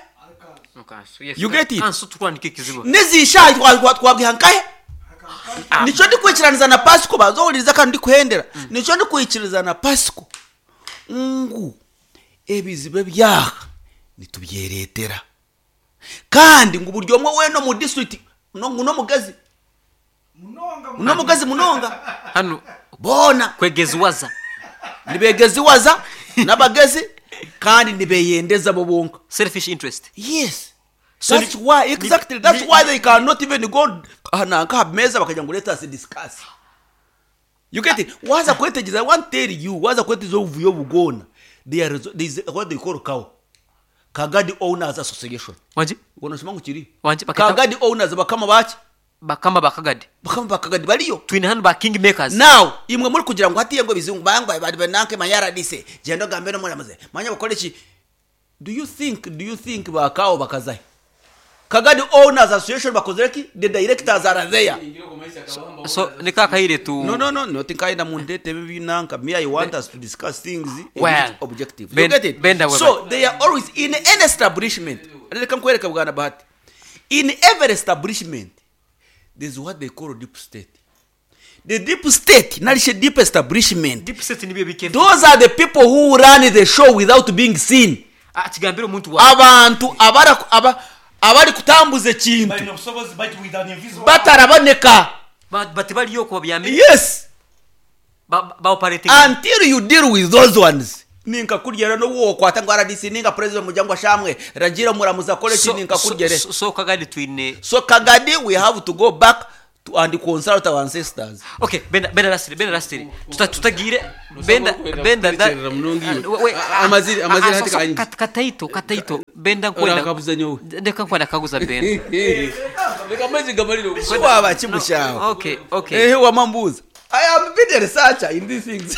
Mukansu, yes. You get it? Kansu tukwandika ekizibu. Nezishayi twabwiha nkahe. Nicyo ndikwikiraniza na Pasiko bazohuririza kandi ndikuhendera nicyo ndikwikiriza na Pasiko ngu ebizibu ebyaha nitubyeretera kandi ngu buri omwe wena omu district no- ngu n'omugezi n'omugezi munonga. Hano boona kwegeziwaza. Nibegeziwaza n'abagezi kandi nibeyendeza bo bonka. Selfish interest. Yes. So that's ni- why exactly that's ni- why they cannot even go nanka ha meza bakagira ngo let us discuss. You get it? Waza kwetegeza, I want tell you, waza kwetegeza obuvuyo bugona, there is there is what they call kawo Kagadi Owners Association. Wanji Ubona ngo kiri Wanji, baketa- Kagadi Owners bakama baki bakama bakagadi. Bakama bakagadi bariyo. Twine hano ba king makers. Now imwe muri kugira ngo hatiye ngo bizungu bangwa bari bananke manyara dise genda gambe no muramaze manya bakore iki. do you think do you think bakao bakazahe Kagadi Owners Association bakoze ki? The directors are there. So nikakahire tu No, no, no, no tinkaida mundete binanka. Me, I want us to discuss things in Well, which objective. Ben- You get it? Benda wewe. So they are always in any establishment. Reka nkwereke bwana Bahati, in every establishment there's what they call deep state. The deep state narishe deep establishment. Deep state nibyo bike. Those are the people who run the show without being seen. Ah, kigambira omuntu wa Abantu abara aba abari kutambuza ekintu Balina obusobozi bait with an invisible bataraboneka. Ba- bati baliyo kuba byami. Yes. Ba ba operating. Until you deal with those ones, ninka kuryera no wokwata ngo R D C ninga president mujangwa shamwe ragira muramuza akore ki so, ninka so, kuryere. so, so Kagadi twine So Kagadi, we have to go back to and consult our ancestors. Okay, benda benda lastly, benda lastly. Tuta tutagire benda benda da Kurekyerera munonga iwe. We- we- A- amaziri- ah, amaziri ah, hati so- so, kanyi. kat- Kataito, kataito. Benda nkwenda. Orakabuza nyowe. Ndeka nkwenda kaguza benda. Reka amaizi gamarire Si waba kimushaho. Okay, okay. Ehe wamambuza. I am a bit a researcher in these things.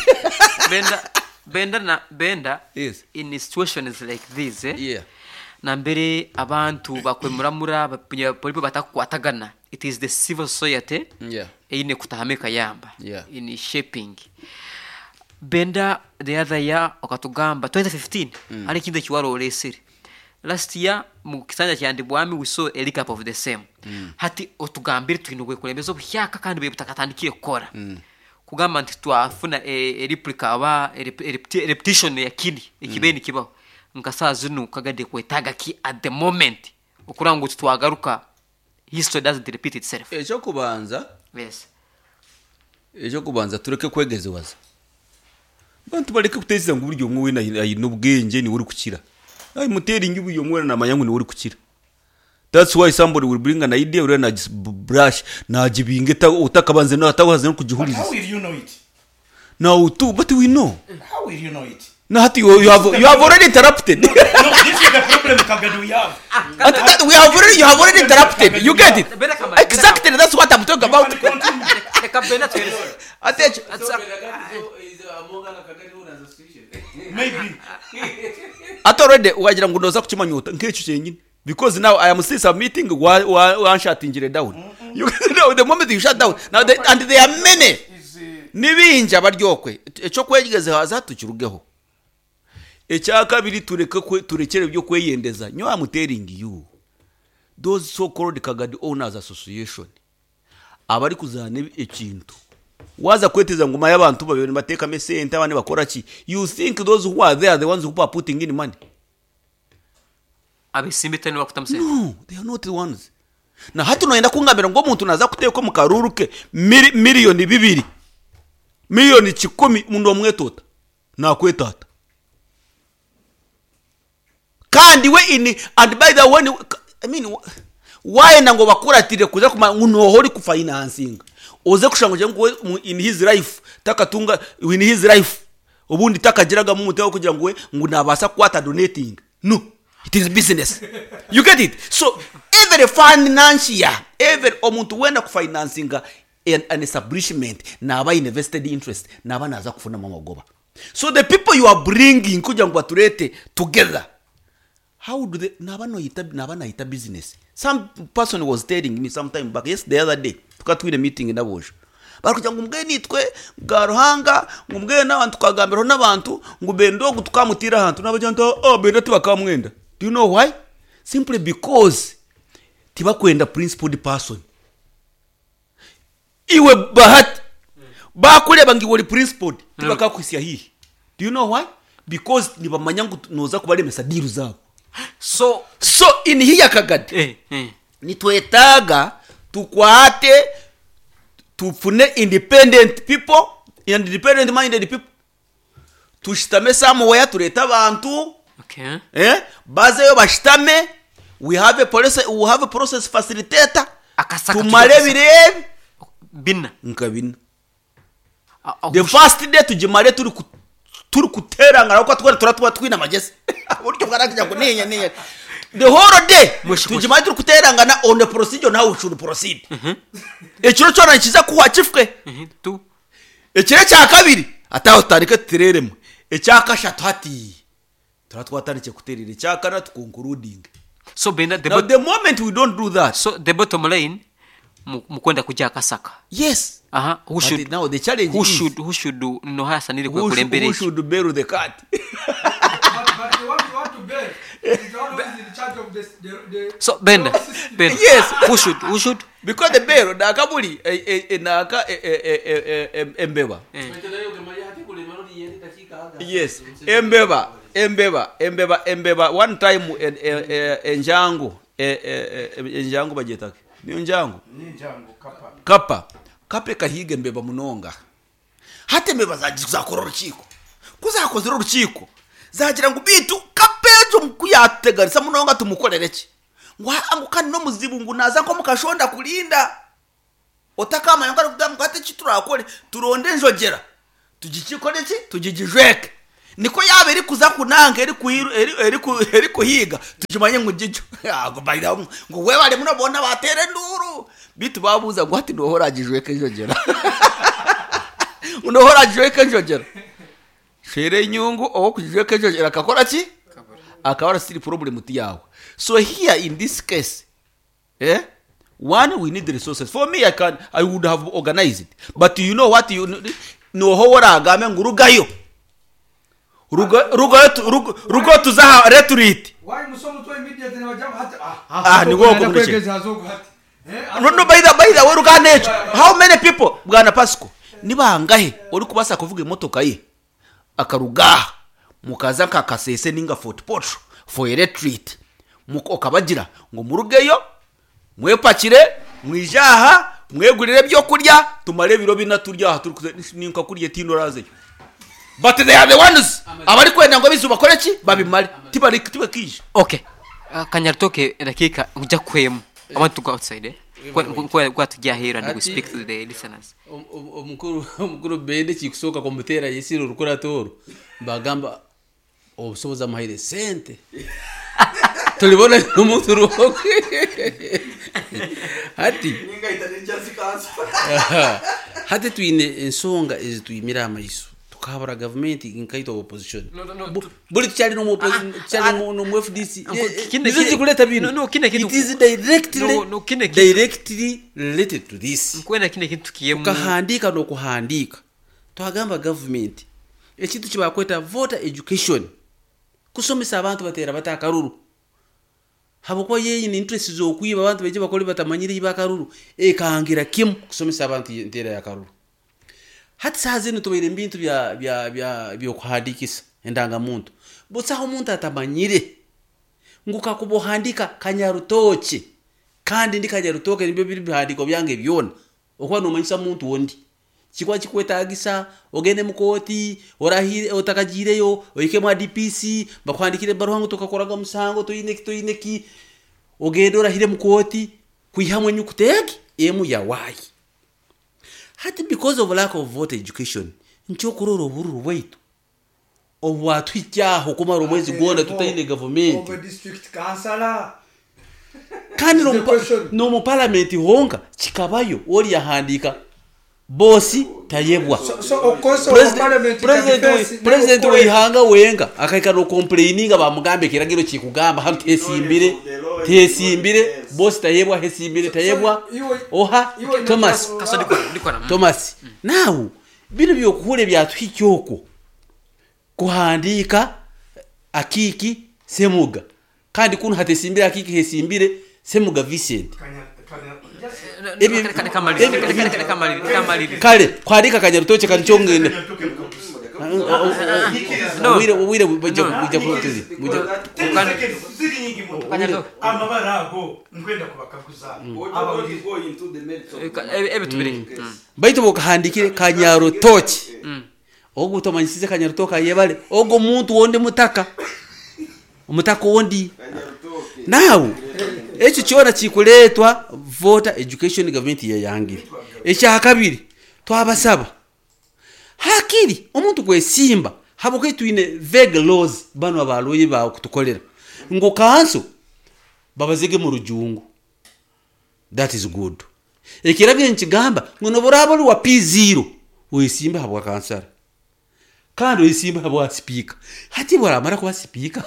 Benda benda na benda Yes. in situations like this eh? Yeah. Nambere abantu bakwemuramura polipo batakukwatagana, it is the civil society Yeah. eine kutahamika yamba Yeah. in shaping. Benda, the other year okatugamba twenty fifteen mm. Hari ekintu ekiwara olesere last year mu kisanja kyandibwami, we saw a recap of the same mm. Hati otugambire, twine obwekulembeza obuhyaka kandi bwe butakatandikire kukora mm. Kugamba nti twafuna e, e replica aba e, rep- e, repeti- repetition ya kini ekibe mm. Nikibaho nka saa zinu kagade kwetaga ki at the moment okuranga ngu twagaruka, history doesn't repeat itself? Ekyokubanza, Yes. ekyokubanza, tureke kwegezewaza. Bantu bareke kutekereza ngu buri omwe wena aine obwengye niwe orikukira. I'm telling you, buri omwe wena namanya ngu niwe orikukira. That's why somebody will bring an idea, uriya nagi brush nagibinga eta- otakabanze atabanze no But how kugihuriza. will you know it? Now too, but we know. How will you know it? Na hati you, you have you have already interrupted. No, this is the problem, Kagadu, we have. And that, we have already you have already interrupted. You get it? Bena kama- Exactly, that's what I'm talking about. You can continue. Reka benda tuhereze. Attention. Maybe. Ate already wagira ngo ndoza kukimanyuta nk'ekyo kyenyine, because now I am still submitting wa wa wanshatingire down. You know, the moment you shut down now they, and there are many. Is, uh, Nibinja baryokwe ekyo kwegeze haza tukirugeho. Ekyakabiri, tureke kwe- turekere ibyo kweyendeza. Nyo, I'm telling you, those so called Kagadi Owners Association abari kuzana ekintu waza kweteza nguma y'abantu babiri batekamo esente, abandi bakora ki? You think those who are there, the ones who are putting in money? Abesimbi tani bakutamusente. No, they are not the ones. Na hati noyenda kungambira ngo omuntu naza kuteeka omu karuru ke mili- miliyoni bibiri, miliyoni kikumi, mundu omwetota nakwetata kandi we in. And by the way, I mean, wayenda ngo bakuratire kuza kuma ngu noho ori kufinancinga oze kushanga ngu we mu- in his life takatunga, in his life obundi takagiragamu umutima wo kugira ngo we ngu nabasa kukwata donating. No, it is business. You get it? So every financier, every omuntu wenda kufinancinga an, an establishment naba invested interest, naba naza kufunamo amagoba. So the people you are bringing kugira ngo baturete together, how do they naba noyita, naba nayita business. Some person was telling me some time back, yes, the other day tukatwire meeting nabojo, bari ngo mbwe nitwe bwa ruhanga, ngo mbwe n'abantu tukagambiraho n'abantu ngo bendogo tukamutira ahantu n'abagira ngo oh bendo tibakamwenda. Do you know why? Simply because tibakwenda principled person. Iwe Bahati bakureba ngo iwe uri principled, tibakakwisia hihi. Do you know why? Because nibamanya ngo noza kubaremesa deal zabo. So So in hiya Kagadi, eh, eh. nitwetaaga tukwate tufune independent people and independent minded people, tushitame somewhere, turete abantu. Okay. Eh, bazeyo bashitame. We have a process, we have a process facilitator. Akasaka. Tumare tujye- birebe bina. Nka bina. A- a- The first day tugimare turi ku- turi kuterangana kuko twari turatuba twina amagezi buryo bwaragira ngo ninya ninya the whole day. Mwishi- Tugimare turi kuterangana on the procedure, on how we should proceed. Ekiro cyona kiza kuwa kifwe. Mhm, tu Ekiro cya kabiri ataho tutandike tutereremo. Ecya kashatu hati tuba twatandike kuterera. Ecya kana tuconcluding. So benda the Now bot- the moment we don't do that. So the bottom line, mu- mukwenda kujya Akasaka. Yes. Aha, who But should now the challenge who is should who should do no hasanire who should, kwekulembera who eki should bury the cat? But, but the one you want to bear is the one who is in charge of this, the, the So benda benda. Yes. Who should who should Because the bear naka buri eh, eh, eh, naka eh, eh, eh, eh, eh, embeba. Yes, embeba, embeba, embeba, embeba. One time eh, eh, eh, enjangu eh, eh, eh, enjangu bagyetake niyo njangu. Ninjangu kapa. Kapa kapa ekahiga embeba munonga. Hati embeba zagi- zakora orukiiko, kuzakozire orukiiko zagira ngu bitu kapa ejo kuyateganisa munonga tumukorere ki? Ngu "Ah, ngu kandi n'omuzibu ngu naza nko mukashonda kurinda." Otakamanya ngu arikugamba ngu hati eki turakore turonde enjogera tugikikore ki tugigijweke niko yaaba erikuza kunanka erikuhiru- eri- eriku- erikuhiiga tukimanye ngu gigyo Ago baira ngu webale muno boona bateera enduuru bitu babuuza ngu hati nooha oragijweka enjogera nooha oragijweka enjogera shwera enyungu owokugijweka enjogera akakora ki akabara still problem ti yawe. So here in this case, eh one, we need resources. For me, i can i would have organized it, but you know what, you noho oragambe ngu rugayo Ruga- rugayo tu- rugo rugo tuzaha retreat. Why musomo to immediately wajamba hati ah Ah, ni woko kwegeza murekye. hazogo hati eh no no by the by the way, ruganda ekyo, how many people, bwana Pasco, ni bangahe ori kubasa kuvuga emotoka ye akarugaha mukaza nka Kasese ninga Fort Portal for a retreat, Muko- okabagira ngo murugeyo mwepakire mwijaha mwegurire ebyo kurya tumare ebiro bina turya aha turi kuze- ninka kurya tino razeyo, but they are the ones abari kwenda ngo bizu bakore ki babimare tibari tibakije. Okay, uh, Kanyaritoke, dakika nkuja kwemu. I want to go outside, eh Kwa- kwa kwa tujya here and we Ati- speak to the listeners. Om- om- omukuru omukuru bende kikusooka kumuteera yesire orukurato oru bagamba obusobozi amuhaire sente tulibona nomuntu rwokwe hati hati twine ensonga ezitwimire amaiso tukahabura gavumenti nkaitwa opposition. No, no, no, Bu- buli tukyali nomu opposi- tukyali nomu- nomu F D C. Uncle, Eh, eh, kine- nizo kine- zikuleta bino. No, no, kine kintu- It is directly No, no, kine kintu- directly related to this. Nkwenda kine kintu tukiyemu. Tukahandiika n'okuhandiika twagamba gavumenti ekintu kibakweta voter education kusomesa abantu bateera bata akaruru habwokuba yenyini interest z'okwiba abantu baije bakole batamanyire iba akaruru ekangira kimu kusomesa abantu enteera y'akaruru. Hati saaha zinu tubaire mubintu bya bya bya byokuhandikisa endangamuntu busaho omuntu atamanyire ngu kakuba ohandika Kanyarutoke kandi ndi Kanyarutoke nibyo biri bihandiko byange byona okuba nomanyisa muntu ondi kikuba kikwetagisa ogende mukooti orahire otakagiireyo ohike mwa D P C bakuhandikire ebaruha ngu tokakoraga musango toine ki toine ki ogende orahire mukooti kwihamu enyukuta egi emu ya waayi. Hati because of lack of voter education nkyokurora obururu bwaitu obwatuhikyaho kumara omwezi gwona tutaine gavumenti. Of a district councillor. Kandi The nomu- question. nomu palamenti honka kikabayo ori yahandika bosi tayebwa. so, so of course our President- parliament can president we- face president no weihanga wenga akaika nokomplaininga bamugambe ekiragiro kikugamba hanu tehesimbire tehesimbire bosi tayebwa hesimbire tayebwa iwe- oha iwe- Thomas. Kaso ndikora ndikora mm. Thomas nawe bino byokuhura byatuhikya okwo kuhandika Akiki Semuga kandi kuno hatesimbire Akiki hesimbire Semuga Vincent. Ebi- Reka- reka maliri, reka- reka- reka maliri, reka maliri. Kale kwandika Kanyarutoke kanikyongenda. No. Obwire obwire bujja No. bujja kutuzi bujja. Ziri nyingi muno. Kanyarutoke. Amabara ago nkwenda kubakaguza abawulire. Reka- ebe ebe tubireke. Mm. Baitu bokahandikire Kanyarutoke ogu utamanyisize Kanyarutoke ayebale ogo muntu wondi mutaka omutaka ondi nawe ekyo kyona kikuleetwa voter education gavumenti yeyangire. Ekyakabiri twabasaba hakiri omuntu kwesimba habwokuba twine vague laws bano abaloyi bawe kutukolera ngu kanso babazige mu rujungu. That is good. Ekiragiro nikigamba ngu noburaba ori wa P zero wesimba habwa kansara kandi wesimba habwa sipiika. Hati bwaramara kuba sipiika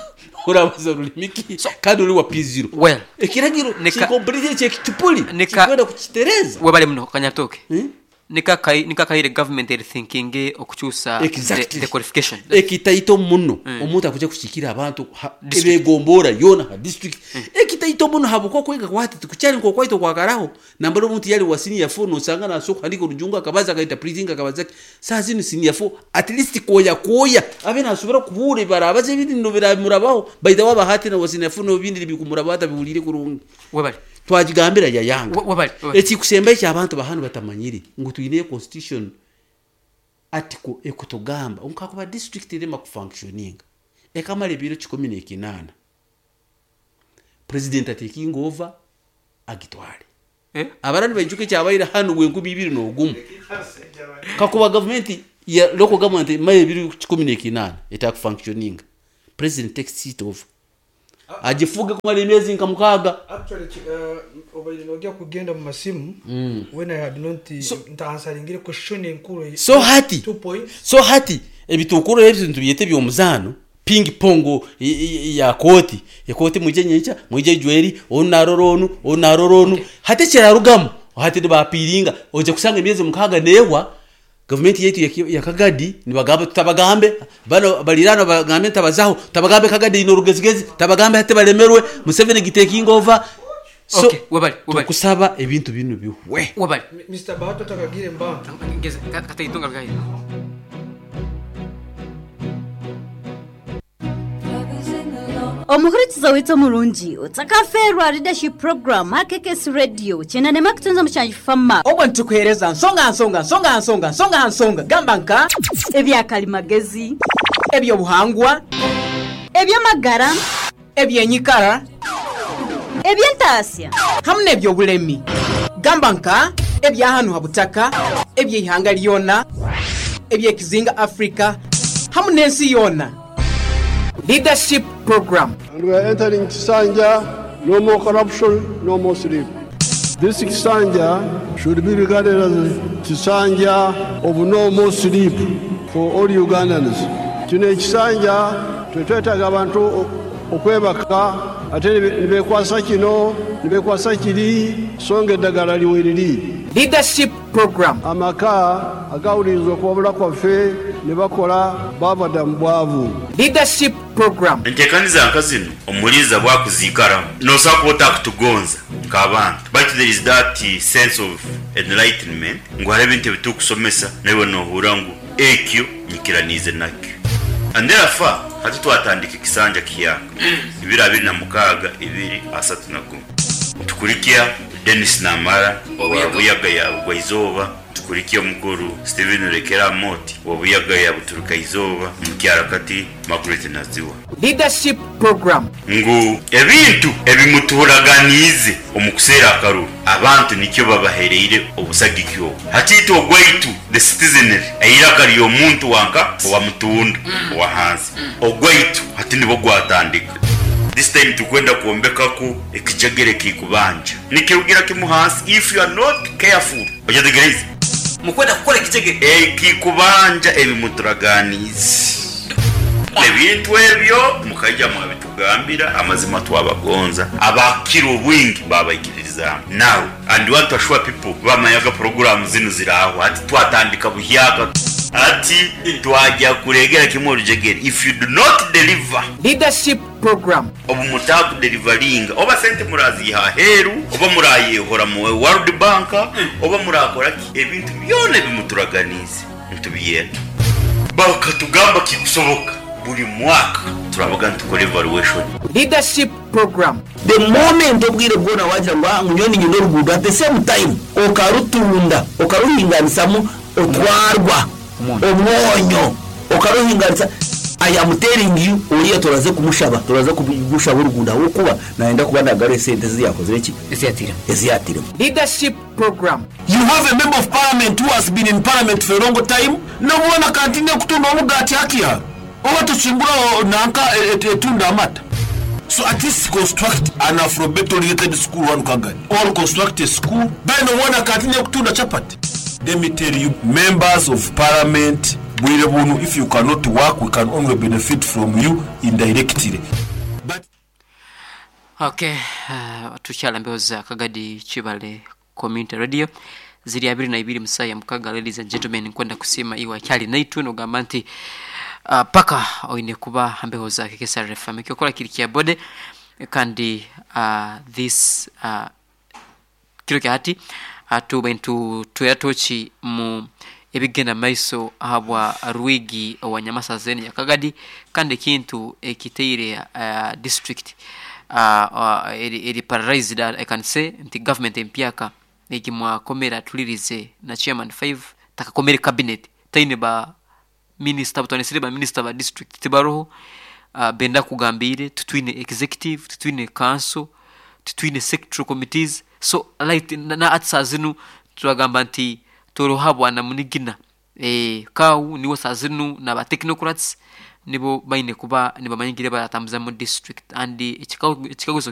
orabaza rulimi ki kandi ori wa P zero? Well, ekiragiro nika- kikompulite kyekicupuli Nika- kikwenda kukitereza. Webale muno Kanyaritoke. Hmm? Nika nikaire government eri thinking okukyusa Exactly. the, the qualification. Ekitaito muno omuntu akuja kushikira abantu ha- District. ebegombora yona ha district ekitaito muno habwokuba kwega kwati tikukyali nkokwaito kwakaraho nambara omuntu yali wa senior four nosanga naso kuhandika orujungu akabaza akaita printing akabaza ki saa zino senior four at least koya koya abe nasobora kubuura barabaza ebindi no biramurabaho baita waba hati na wa senior four nobindi bikumurabaho atabiwulire kurungi. Webale. Twagigambira yayanga. We- webale, webale. Ekikusemba ekyo abantu bahanu batamanyire ngu twine constitution article ekutugamba nkakuba district erema kufunctioninga ekamara ebiro kikumi n'ekinaana president ataking over agitwale. Eh? Abarani baijuka ekyabaire hanu bwenkumi ibiri n'ogumu kakuba gavumenti ya local government maye ebiri kikumi n'ekinaana etakufunctioninga, president takes it over, agifuge kumara emyezi nka mukaaga. Actually, uh, obaire nojya kugenda mu masimu when I had not ntaansaringire question enkuru. So hati two points. So hati ebitukuru ebyo tubyete by'omuzaano, ping pong i- i- ya kooti, ekooti mwije nyenkya, mwije jweri, onu narora onu, onu narora onu. Hati ekirarugamu hati nibapiringa, ojja kusanga emyezi mukaaga neewa gavumenti yaitu ya- ya Kagadi nibagamba tutabagambe bano balirano, bagambe ntabazaho, tabagambe Kagadi ino rugezigezi, tabagambe hati balemerwe Museveni gitaking over. So Okay, webale, webale. tukusaba ebintu bino bihwe. Wabali. Mister Bahato takagire mbanga. Ngeze kataitunga rugaye. Omuhurikiza witse omurungi otsakaferwa leadership program ha K K S Radio kyenda nema kutunza mushanju fama. Obwo nitukuheereza nsonga nsonga nsonga nsonga nsonga nsonga gamba nka ebyakalimagezi, ebyobuhangwa, ebyamagara, ebyenyikara, ebyentasya hamwe n'ebyobulemi gamba nka ebyahanu ha butaka, ebyeihanga lyona, ebyekizinga Afrika hamwe n'ensi yona. Leadership program. And we are entering Kisanja, no more corruption, no more sleep. This Kisanja should be regarded as Kisanja of no more sleep for all Ugandans. Kino ekisanja tetwetaaga abantu o- okwebaka ate ne bekwasa kino ne bekwasa kiri, so nga eddagala liweriri. Leadership program. Amaka agawuliriza okuwabula kwaffe ne bakola baava dda mu bwavu. Leadership program. Enteekaniza nka zino omuliiza bwakuziikaramu nosobola kuba otakutugonza nk'abantu, but there is that sense of enlightenment ngu hariho ebintu ebitukusomesa naiwe nohura ngu ekyo nyikiraniize nakyo. And therefore hati twatandika ekisanja kiyaka ibiri abiri na mukaaga ibiri asatu na gumu, tukurikya Denis Namara wa Buyaga ya Bugwaizooba, tukurikya omukuru Steven Rekera Moti wa Buyaga ya Buturuka Izooba, mukyarakati Margaret Naziwa. Leadership program. Ngu ebintu ebimuturaganiize omu kuseera akaruru abantu nikyo babahereire obusagiki obwo. Hatiitwe ogwaitu the citizenry, eiraka ly'omuntu wanka owa mutunda owa hansi, ogwaitu hati nibwo gwatandika. This time tukwenda kwombekaku ekijegere kikubanja nikirugira kimu hansi. If you are not careful, ojategereze. Mukwenda kukora ekijegere. Ekikubanja ebimuturaganiize, ebintu ebyo mukaija mwabitugambira amazima, twabagonza abakira obwingi babaikiririzaamu. Now and want to assure people bamanyaga programu zino ziraho. Ati twatandika buhyaka, ati twajya kuregera kimwe orujegere if you do not deliver. Leadership program. Obu mutakudeliveringa, oba sente muraziha aheru, oba murayehora mu World Bank, oba murakora ki, ebintu byona ebimuturaganize ntubiyenda. Bakatugamba kikusoboka, buri mwaka turabaga ntukora evaluation. Leadership program. The moment obwire bwona wagira ngu "Ah, ngunyoni nyina oruguudo," at the same time okarutunda, okaruhinganisamu otwarwa omwonyo okaruhinganisa. I am telling you, oriya turaze kumushaba, turaze kumushaba oruguudo ahabwokuba nayenda kuba nagara esente eziyakozire ki Eziyatire. Eziyatiremu. Leadership program. You have a member of parliament who has been in parliament for a long time, nobona kantine kutunda omugati hakia oba tusimbura nanka etunda amata. So at least construct an alphabet oriented school one Kagadi, or construct a school beno wona kantine kutunda chapati. Let me tell you, members of parliament bwire bunu, if you cannot work, we can only benefit from you indirectly, but Okay, uh, tukyala mbeho za Kagadi Kibale Community Radio ziri abiri na ibiri musaya mukaga. Ladies and gentlemen, nkwenda kusima iwe akyali naitwe nogamba nti uh, paka oine kuba mbeho za K K S R F M ekyokola kiri kya bode. Kandi uh, this uh, kiro kya hati atuba ntu tuyatoki mu ebigenda maiso ahabwa rwigi owa Nyamasazeni ya Kagadi, kandi ekintu ekiteire uh, district uh, uh, eri, eri paralyzed. I can say nti government empyaka egimwakomera tulirize na chairman five takakomere cabinet taine ba minister butwanisire ba minister ba district tibaroho. uh, benda kugambire tutwine executive, tutwine council. Titwine sectoral committees. So right na na ati saa zinu turagamba nti toroha bwana munigina eh, kawu niwo saa zinu naba technocrats nibo baine kuba nibamanyigire baratambuza mu district. And ekikaguzo